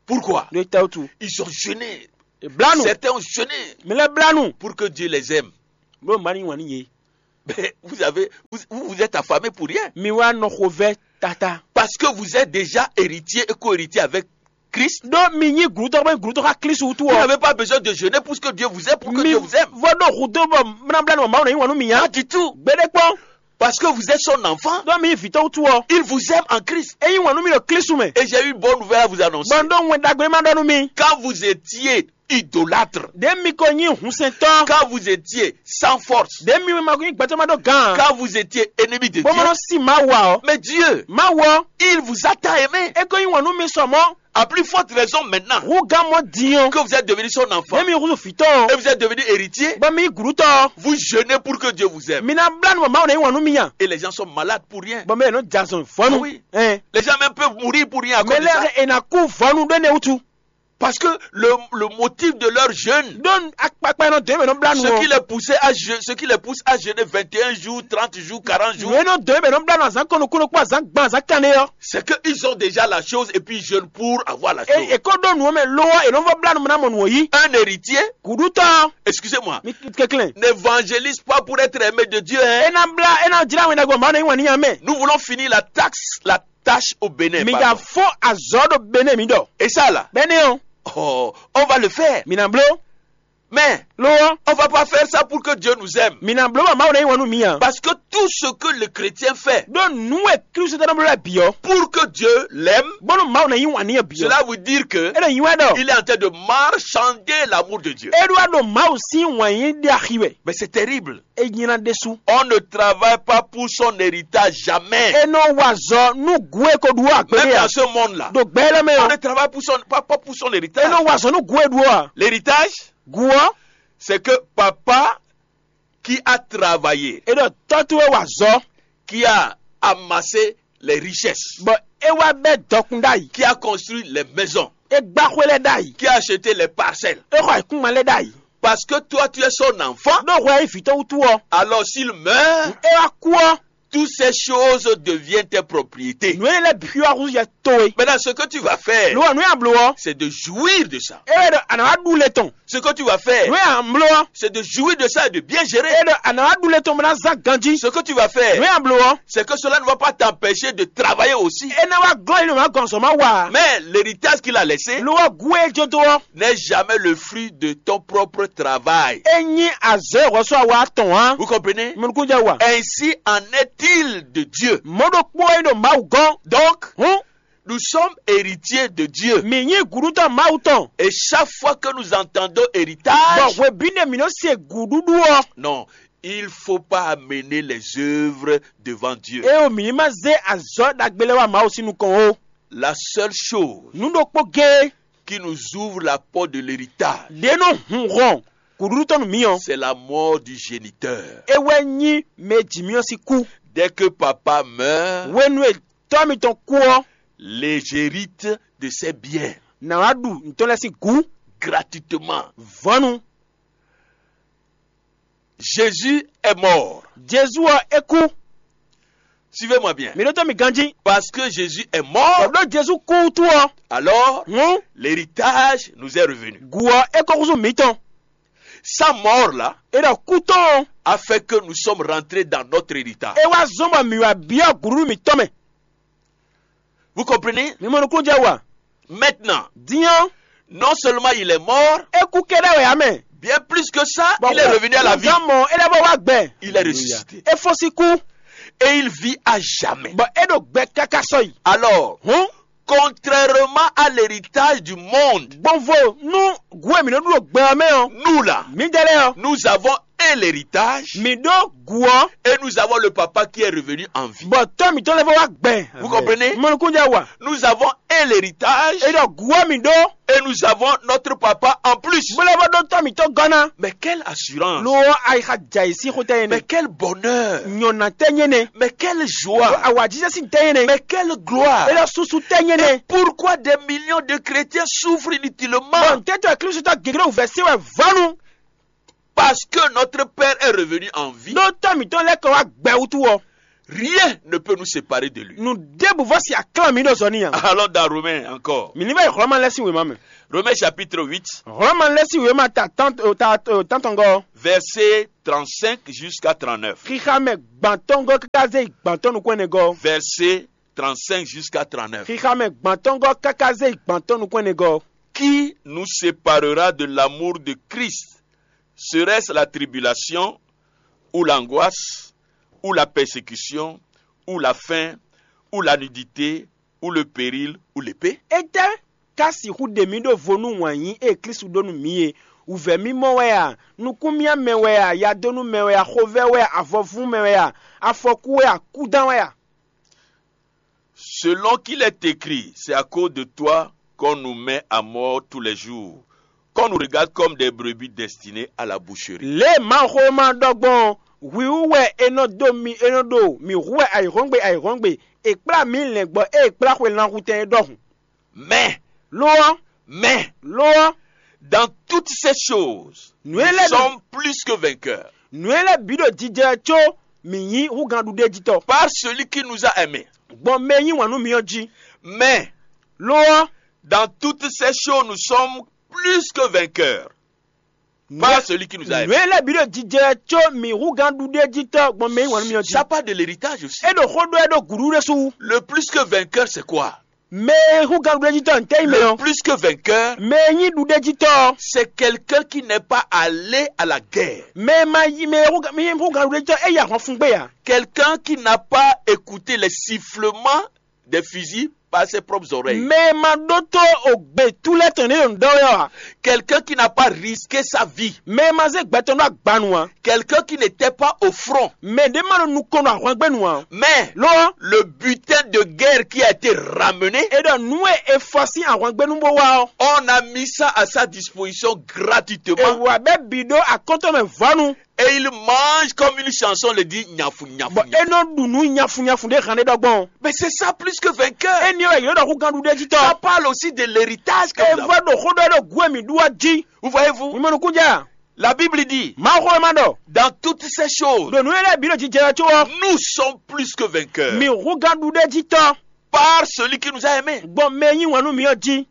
Pourquoi? Ɖo é ta wútu. Ils ont jeûné. È blá nu. Certains ont jeûné. Mɛ lɛ́ɛ blá nu. Pour que Dieu les aime. Bó ma ní wǎn n'i yě. Mais vous avez, vous, vous vous êtes affamé pour rien. Mi wá nɔ xovɛ́ tata. Parce que vous êtes déjà héritier et co-héritier avec Christ. Ɖó mi nyí gǔtɔ́ bɔ gǔtɔ́ xá Klísu wútu Vous ɔ́. N'avez pas besoin de jeûner pour que Dieu vous aime, pour que Mi Dieu vous aime. Vɔ ɖo hǔ dó bɔ mlabla nɔ Mawu nɔ nyí wǎn nú mi nya. Pas du tout. Gbeɖé kpɔ́n. Parce que vous êtes son enfant. Ɖó mi nyí vǐtɔ́ wútu ɔ́. Il vous aime en Christ. É nyí wǎn nú mi ɖo Klísu mɛ. Et j'ai une bonne nouvelle à vous annoncer. Bɔ un ɖó wɛn ɖagbe ma ɖɔ nú mi. Quand vous étiez idolâtre, Ɖě mi ko nyí hǔnsɛntɔ́. Quand vous étiez sans force, Ɖě mi ma ko nyí gbɛtɔ́ ma ɖó gǎn. Quand vous étiez ennemi de Bó ma Dieu, nɔ sí Mawu ǎ ɔ́. Mais Dieu, Mawu ɔ́. Il vous a tant aimé. É ko nyí wǎn nú mi sɔ mɔ̌. À plus forte raison maintenant Hú gán mɔ̌ din ɔ́. Que vous êtes devenu son enfant. Ɖě mi húzú vǐtɔ́ ɔ́. Et vous êtes devenu héritier. Bɔ mi nyí gǔɖútɔ́ ɔ́. Vous jeûnez pour que Dieu vous aime. Mi ná blá nú bɔ Mawu ná nyí wǎn nú mi nya. Et les gens sont malades pour rien. Bɔ mɛ e nɔ jɛ azɔn vɔ́nu. Ah oui. Ɛn. Les gens même peuvent mourir pour rien à cause de ça. Mɛ lɛ́ɛ e ná kú vɔ́nu ɖó énɛ́ wútu. Parce que le, le motif de leur jeûne, Ɖó akpakpa e nɔ dɔn yě mɛ nɔ blá nu ce qui ɔ́. Les poussait à je-, ce qui les pousse à jeûner vingt et un jours, trente jours, quarante jours, Nǔ e nɔ dɔn yě mɛ nɔ blá nu azǎn kɔnukúnukpó azǎn gban azǎn kanɖé ɔ́. C'est qu'ils ont déjà la chose et puis ils jeûnent pour avoir la chose. E e ko ɖó nǔ ɔ́ mɛ lo ɔ́, è nɔ vɔ blá nu ná mɔ nǔ ɔ́ yí. Un héritier, Gǔɖútɔ́ ɔ́, excusez-moi, mi kɛnklɛ́n. N'évangélise pas pour être aimé de Dieu, hein. É ná blá é ná jlá wɛn ɖagbe Mawu ná nyí wǎn n'i nya mɛ. Nous voulons finir la taxe, la tâche au Bénin. Mi pardon. Ja fó azɔ̌ ɖo Bénin mi ɖɔ. Et ça là, Bɛnɛ ɔ́, oh, on va le faire. Mi ná bló. Mais Lo ɔ́, on va pas faire ça pour que Dieu nous aime. Mi ná bló bɔ Mawu ná nyí wǎn nú mi ǎ. Parce que tout ce que le chrétien fait Ɖó nǔ e Klísu tɔn nɔ bló lɛ́ɛ bǐ ɔ́, pour que Dieu l'aime, bónú Mawu ná nyí wǎn n'i ɔ́ bǐ ɔ́, Cela veut dire que é ɖo nyi wɛ ɖɔ il est en train de marchander l'amour de Dieu. É ɖó wá ɖo Mawu sín wǎn yí ɖe axi wɛ. Mais c'est terrible. É nyí ná ɖésú. On ne travaille pas pour son héritage jamais. É nɔ wa azɔ̌ nú gǔ e ko ɖu ɔ́ Même àgbélé ǎ. Dans ce monde-là, Ɖo gbɛ élɔ́ mɛ on ɔ́, ne travaille pour son, pas, pas pour son é héritage. Nɔ wa azɔ̌ nú gǔ e ɖu ɔ́ ǎ. L'héritage, Gǔ ɔ́, c'est que papa qui a travaillé, é ɖɔ tɔ́ towe wa azɔ̌, qui a amassé les richesses, bɔ é wá bɛ́ dɔkun ɖ'ayǐ, qui a construit les maisons, é gbá xwé lɛ́ɛ ɖ'ayǐ, qui a acheté les parcelles. É xɔ ayǐkúngban lɛ́ɛ ɖ'ayǐ. Parce que toi, tu es son enfant. Ɖó hwɛ e vǐ tɔn wútu ɔ́, Alors, s'il meurt, é wá kú ɔ́, Toutes ces choses deviennent tes propriétés. Nǔ énɛ́ lɛ́ɛ bǐ wá húzú yɛ towe. Maintenant, ce que tu vas faire, Lo ɔ́, nǔ e a blǒ ɔ́, c'est de jouir de ça. É wɛ ɖɔ a nǎ wá ɖu le tɔn. Ce que tu vas faire, Nǔ e a blǒ ɔ́, c'est de jouir de ça et de bien gérer. É ɖɔ a nǎ wá ɖu le tɔn bó ná zán ganjí. Ce que tu vas faire, Nǔ e a blǒ ɔ́, c'est que cela ne va pas t'empêcher de travailler aussi. É ná wá glɔ́ yi nú mǎ gɔn zɔ̌ má wa. Mais l'héritage qu'il a laissé Lo ɔ́, gǔ e jó dó ɔ́, n'est jamais le fruit de ton propre travail. É nyí azɔ̌ e hwɛsó awa tɔn ǎ. Vous comprenez? Mi nukún jɛ wa. Ainsi en est-il de Dieu. Mɔ̌ ɖokpó wɛ nyí ɖo Mawu gɔ́n. Donc, Hǔn, nous sommes héritiers de Dieu. Mǐ nyí gǔɖútɔ́ Mawu tɔn. Et chaque fois que nous entendons Bɔ hwebǐnu e mǐ nɔ se gǔɖúɖu ɔ́, non, il faut pas amener les œuvres devant Dieu. É o mǐ ní ma zé azɔ̌ ɖagbe lɛ́ɛ wá Mawu sín nukɔn ó. La seule chose Nǔ ɖokpó géé qui nous ouvre la porte de l'héritage, ɖě nɔ hun hɔn gǔɖúɖu tɔn nú mǐ ɔ́, c'est la mort du géniteur. É wɛ nyí mɛ e ji mì ɔ́ sín kú. Dès que papa meurt, Hwenu e tɔ́ mitɔn kú ɔ́, les héritiers de ses biens nǎ wá ɖu nǔ tɔn lɛ́ɛ sín gǔ gratuitement. Vɔ̌nu. Jésus est mort. Jezu ɔ́, é kú. Suivez-moi bien. Mi ɖótó mi ganjí. Parce que Jésus est mort, Bɔ ɖó Jezu kú wútu ɔ́, alors hǔn l'héritage nous est revenu. Gǔ ɔ́, é kó húzú mǐtɔn. Sa mort là É ɖɔ kú tɔn ɔ́, A fait que nous sommes rentrés dans notre héritage. É wá zɔ́n bɔ mǐ wá byɔ́ gǔɖúɖu mǐtɔn mɛ. Vous comprenez? Mi mɔ nukúnnú jɛ wa. Maintenant, Din ɔ́, non seulement il est mort, é kú kɛ́ɖɛ́ wɛ ǎ mɛ. Bien plus que ça, Bɔ il est revenu à la vie. Gán mɔ é lɛ́ bɔ wá gbɛ. Il est ressuscité. É fɔ́n sín kú. Et il vit à jamais. Bɔ é ɖo gbɛ káká sɔ́yi. Alors, Hǔn, Contrairement à l'héritage du monde, gbɔnvo nú gǔ e mǐ nɔ ɖu ɖo gbɛ ɔ́ mɛ ɔ́, nous là, mǐdɛɛ lɛ́ɛ ɔ́, nous avons un héritage, Mǐ ɖó gǔ ɔ́, Et nous avons le papa qui est revenu en vie. Bɔ tɔ́ mǐtɔn lɛ́ɛ vɔ wá gbɛ. Vous comprenez? Mɔnukúnjɛ wa. Nous avons un héritage, É ɖɔ gǔ ɔ́ mǐ ɖó, Et nous avons notre papa en plus. Bó lɛ́ vɔ ɖó tɔ́ mǐtɔn gɔ́ ná. Mais quelle assurance! Lo ɔ́, ayixa jɛ ayǐ sín xó tɛ́ nyí Mɛ nɛ́. Kɛ́l bɔnɛ́! Nyɔ̌ná tɛ́ nyí nɛ́. Mɛ kɛ́l zwa! Awǎjijɛ sín tɛ́ nyí nɛ́. Mɛ kɛ́l glwa! É ɖɔ susu tɛ́ nyí nɛ́. Pourquoi des millions de chrétiens souffrent inutilement? Bɔn tɛ́tɔ Klísu tɔ́ gěgé wǔvɛ́ sí wɛ vɔ́nu. Parce que notre Père est revenu en vie. Ɖó tɔ́ mǐtɔn lɛ́ kɔ wá gbɛ wútu ɔ́, Rien ne peut nous séparer de lui. Nǔ ɖěbǔ vɔ si aklán mǐ ɖo zɔ n'i ǎ. Allons dans Romains encore. Mǐ ní vɛ yi Hlɔ̌ma lɛ́ɛ sín wěma mɛ. Romains chapitre huit, Hlɔ̌ma lɛ́ɛ sín wěma ta tán- ta- tántɔngɔ́ ɔ́, verset trente-cinq jusqu'à trente-neuf. Xixa mɛ gbantɔ́ngɔ́ káká zé yi gbantɔ́ nukún ɛnɛgɔ́. Verset trente-cinq jusqu'à trente-neuf. Xixa mɛ gbantɔ́ngɔ́ káká zé yi gbantɔ́ nukún ɛnɛgɔ́. Qui nous séparera de l'amour de Christ? Serait-ce la tribulation, ou l'angoisse, ou la persécution, ou la faim, ou la nudité, ou le péril, ou l'épée? Étɛ́ ka sixú ɖe mǐ ɖo vo nú wǎn yí e Klísu ɖó nú mǐ é? Wǔvɛ́ mímɔ́ wɛ a? Nukúnmíámɛ wɛ a? Yadónúmɛ wɛ a? Xovɛ́ wɛ a? Avɔvún mɛ wɛ a? Afɔkú wɛ a? Kúdán wɛ a? Selon qu'il est écrit, c'est à cause de toi qu'on nous met à mort tous les jours, qu'on nous regarde comme des brebis destinées à la boucherie. Lě e Mawuxówéma ɖɔ gbɔn ɔ́, hwi wú wɛ è nɔ dó mi è nɔ ɖo mǐ hu wɛ ayǐhɔ́ngbe ayǐhɔ́ngbe; è kplá mǐ lɛ̌ngbɔ́ ée è kplá xwe lanhutɛn é ɖɔhun. Mais, Lo ɔ́, mais, lo ɔ́, dans toutes ces choses, nǔ e nous lɛ́ɛ sommes plus que vainqueurs. Nǔ e lɛ́ɛ bǐ ɖo jijɛ có mǐ nyí húgǎnɖuɖéjítɔ́. Par celui qui nous a aimés. Gbɔn mɛ e yí wǎn nú mì ɔ́ jí. Mais, Lo ɔ́, dans toutes ces choses, nous sommes plus que vainqueurs. Nǔ e- Par celui qui nous a nǔ aimés. E lɛ́ɛ bǐ ɖo jijɛ có mǐ húgǎnɖuɖéjítɔ́ gbɔn mɛ e yí wǎn nú mì ɔ́ jí. Ça part de l'héritage aussi. É ɖo xó ɖɔ é ɖo gǔɖúɖú ɖésú wú. Le plus que vainqueur, c'est quoi? Mɛ e hú gangblójítɔ́ ntɛ́ nyí mɛ Le ɔ́? Plus que vainqueur, Mɛ e nyí ɖuɖéjítɔ́ ɔ́, c'est quelqu'un qui n'est pas allé à la guerre. Mɛ e ma yi mɛ e hú ga- mɛ e hú gangblójítɔ́ é yi ahwan fún gbé ǎ. Quelqu'un qui n'a pas écouté les sifflements des fusils par ses propres oreilles. Mɛ e ma ɖótó ògbè tú lɛ́ɛ tɔn ɖě ɖo nǔ ɖɔ wɛ ɔ́ ǎ. Quelqu'un qui n'a pas risqué sa vie. Mɛ e ma zé gbɛ tɔn ɖó agba nu ǎ. Quelqu'un qui n'était pas au front. Mɛ ɖě ma ɖo nukɔn ɖo ahwangbénu ǎ. Mais Lo ɔ́, le butin de guerre qui a été ramené, é ɖɔ nǔ e è fɔ sín ahwangbénu bó wá ɔ́, on a mis ça à sa disposition gratuitement. È wǎ bɛ́ bǐ ɖó akɔ́ntɔn mɛ vɔ́nu. Et il mange comme une chanson le dit, nyafu, nyafu, Bɔ é nyafu. Nɔ ɖu nǔ nyafunyafu ɖé hǎn ɖé ɖɔ gbɔn. Mais c'est ça plus que vainqueur. Éní wɛ yě ɖɔ hú gán ɖuɖéjítɔ́. Ça parle aussi de l'héritage que É vous avez. Vɔ ɖo xó ɖɔ ɖo gǔ e mǐ ɖu ɔ́ jí. Vous voyez-vous? Mi mɔ nukúnjɛ a? La Bible dit, Mawuxówéma ɖɔ, dans toutes ces choses, ɖo nǔ e lɛ́ɛ bǐ ɖo jijɛ wɛ có ɔ́, nous sommes plus que vainqueurs. Mi hú gán ɖuɖéjítɔ́. Par celui qui nous a aimés. Gbɔn mɛ e yí wǎn nú mi ɔ́ jí.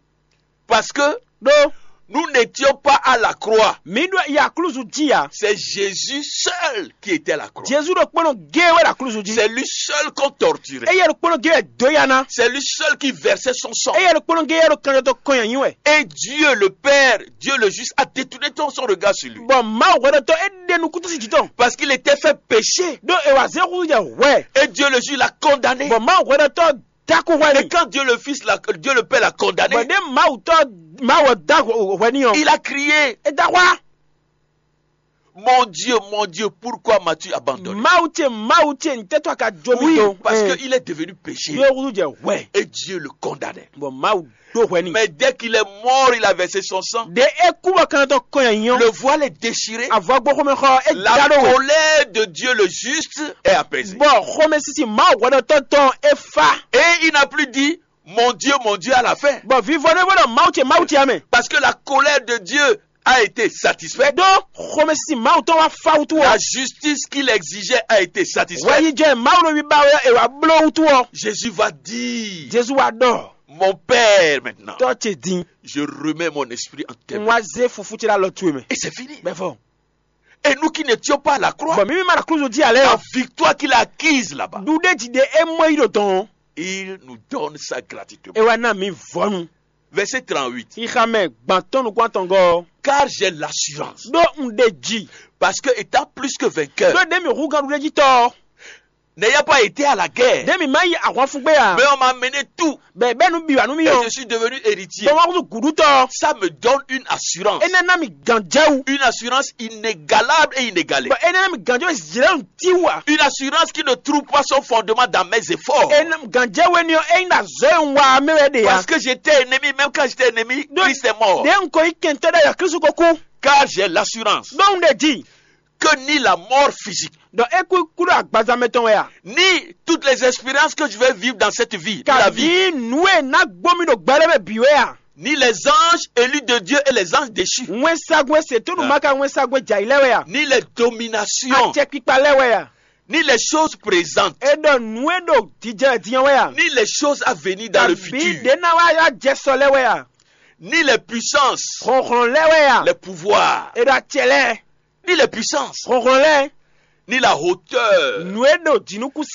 Parce que Ɖó nous n'étions pas à la croix. Mǐ ɖo yi aklúzu jí ǎ. C'est Jésus seul qui était à la croix. Jezu ɖokpónɔ géé wɛ ɖo aklúzu jí. C'est lui seul qu'on torturait. Éyɛ́ ɖokpónɔ géé wɛ dǒ ya ná. C'est lui seul qui versait son sang. Éyɛ́ ɖokpónɔ géé wɛ ɖo kanjɔtɔ́ kɔn nyi wɛ. Et Dieu le Père, Dieu le juste, a détourné ton son regard sur lui. Bɔ Mawu hwɛɖɔtɔ́ é ɖe nukúntín jǐ tɔn. Parce qu'il était fait péché. Ɖó è wǎ zé húzú jɛ hwɛ. Et Dieu le juste l'a condamné. Bɔ Mawu hwɛɖɔtɔ́ dákú hwɛ Et n'i. Quand Dieu le Fils, l'a- Dieu le Père l'a condamné, Bɔ ɖé Mawu tɔ́ Mawu ɔ́ dá hwɛ n'i ɔ́, il a crié, é dá hwá. Mon Dieu, mon Dieu, pourquoi m'as-tu abandonné? Mawu ce, Mawu ce, ntɛ́tɔ́ a ka jó mi Oui, do? Parce Ɛn. Qu'il est devenu péché. Ɖó húzú jɛ hwɛ. Et Dieu le condamnait. Bɔ Mawu ɖó hwɛ n'i. Mais dès qu'il est mort, il a versé son sang. Ɖě é kú bɔ kanjɔtɔ́ kɔn nyi ɔ́, Le voile est déchiré. Avɔ gbɔxɔmɛ xɔ é La da ɖó wɛ. Colère de Dieu le juste est apaisée. Bɔ xɔmɛsísi Mawu hwɛɖɔtɔ́ tɔn é fá. Et il n'a plus dit, mon Dieu, mon Dieu à la fin. Bɔ vivɔ ɖé bó ɖɔ Mawu ce, Mawu ce amɛ. Parce que la colère de Dieu a été satisfaite. Ɖó xɔmɛsísi Mawu tɔn wá fá wútu La ɔ́, justice qu'il exigeait a été satisfaite. Wɛyijɛ Mawu ɖo wiba wɛ è wá bló wútu ɔ́, Jésus va dire, Jezu wá ɖɔ, mon Père maintenant, Tɔ́ ce din, je remets mon esprit en tes mains. Un wá zé fufú ce ɖo alɔ towe mɛ. Et c'est fini. Bɛfɔ. Et nous qui n'étions pas à la croix, Bɔ mí mí ma ɖo klúzu jí ǎ lɛ́ɛ la ɔ́, Victoire qu'il a acquise là-bas, Ɖuɖéji ɖé é mɔ yí ɖo dɔn ɔ́, Il nous donne ça gratuitement. É wá ná mǐ vɔ́nu. Verset trente-huit. Xixa mɛ gbantɔ́ nukún atɔngɔ́ ɔ́, Car j'ai l'assurance. Ɖó un ɖe ji. Parce que étant plus que vainqueur, Ɖó ɖě mǐ hú gán ɖuɖéjítɔ́ ɔ́, N'ayant pas été à la guerre. Ɖé mi má yi ahwanfugbé a? Mais on m'a amené tout. Bɛ bɛ́ nu bǐ wá nú mì. Et ɔ́, je suis devenu héritier. Bɔ wá kútu gǔɖútɔ́. Ça me donne une assurance. Énɛ́ ná mi gǎnjɛwú. Une assurance inégalable et inégalée. Bɔ énɛ́ ná mi gǎnjɛwú zilɛ́nu tíwa. Une assurance qui ne trouve pas son fondement dans mes efforts. Énɛ́ gǎnjɛwú éní ɔ́, é nyí ɖo azɔ̌ e un wa ɔ́ mɛ wɛ ɖe ya. Parce que j'étais ennemi, même quand j'étais ennemi, Christ est mort. Ɖě un ko nyí kɛntɔ́ ɖé ya Kristu ko kú. Car j'ai l'assurance. Ɖó un ɖe jí. Que ni la mort physique, Ɖɔ é kú kú ɖo agbaza mɛ tɔn wɛ a? Ni toutes les expériences que je vais vivre dans cette vie, dans la vie, Kabi nǔ e ná gbó mì ɖo gbɛɖé mɛ bǐ wɛ a? Ni les anges élus de Dieu et les anges déchus, Wɛnsagun e se tónú Ah. Maka wɛnsagun e jɛ ayǐ lɛ́ɛ wɛ a? Ni les dominations, Acɛkpikpa lɛ́ɛ wɛ a? Ni les choses présentes, E ɖɔ nǔ e ɖo jijɛ din ɔ́ wɛ a? Ni les choses à venir dans le Kabi futur, ɖě ná wá wá jɛ sɔ lɛ́ɛ wɛ a? Ni les puissances, Hlɔ̌nhlɔ́n lɛ́ɛ wɛ a? Les pouvoirs, E ɖɔ acɛ lɛ́ɛ. Ni les puissances, Hlɔ̌nhlɔ́n lɛ́ɛ. Ni la hauteur, Nǔ e ɖo jǐnukúnsin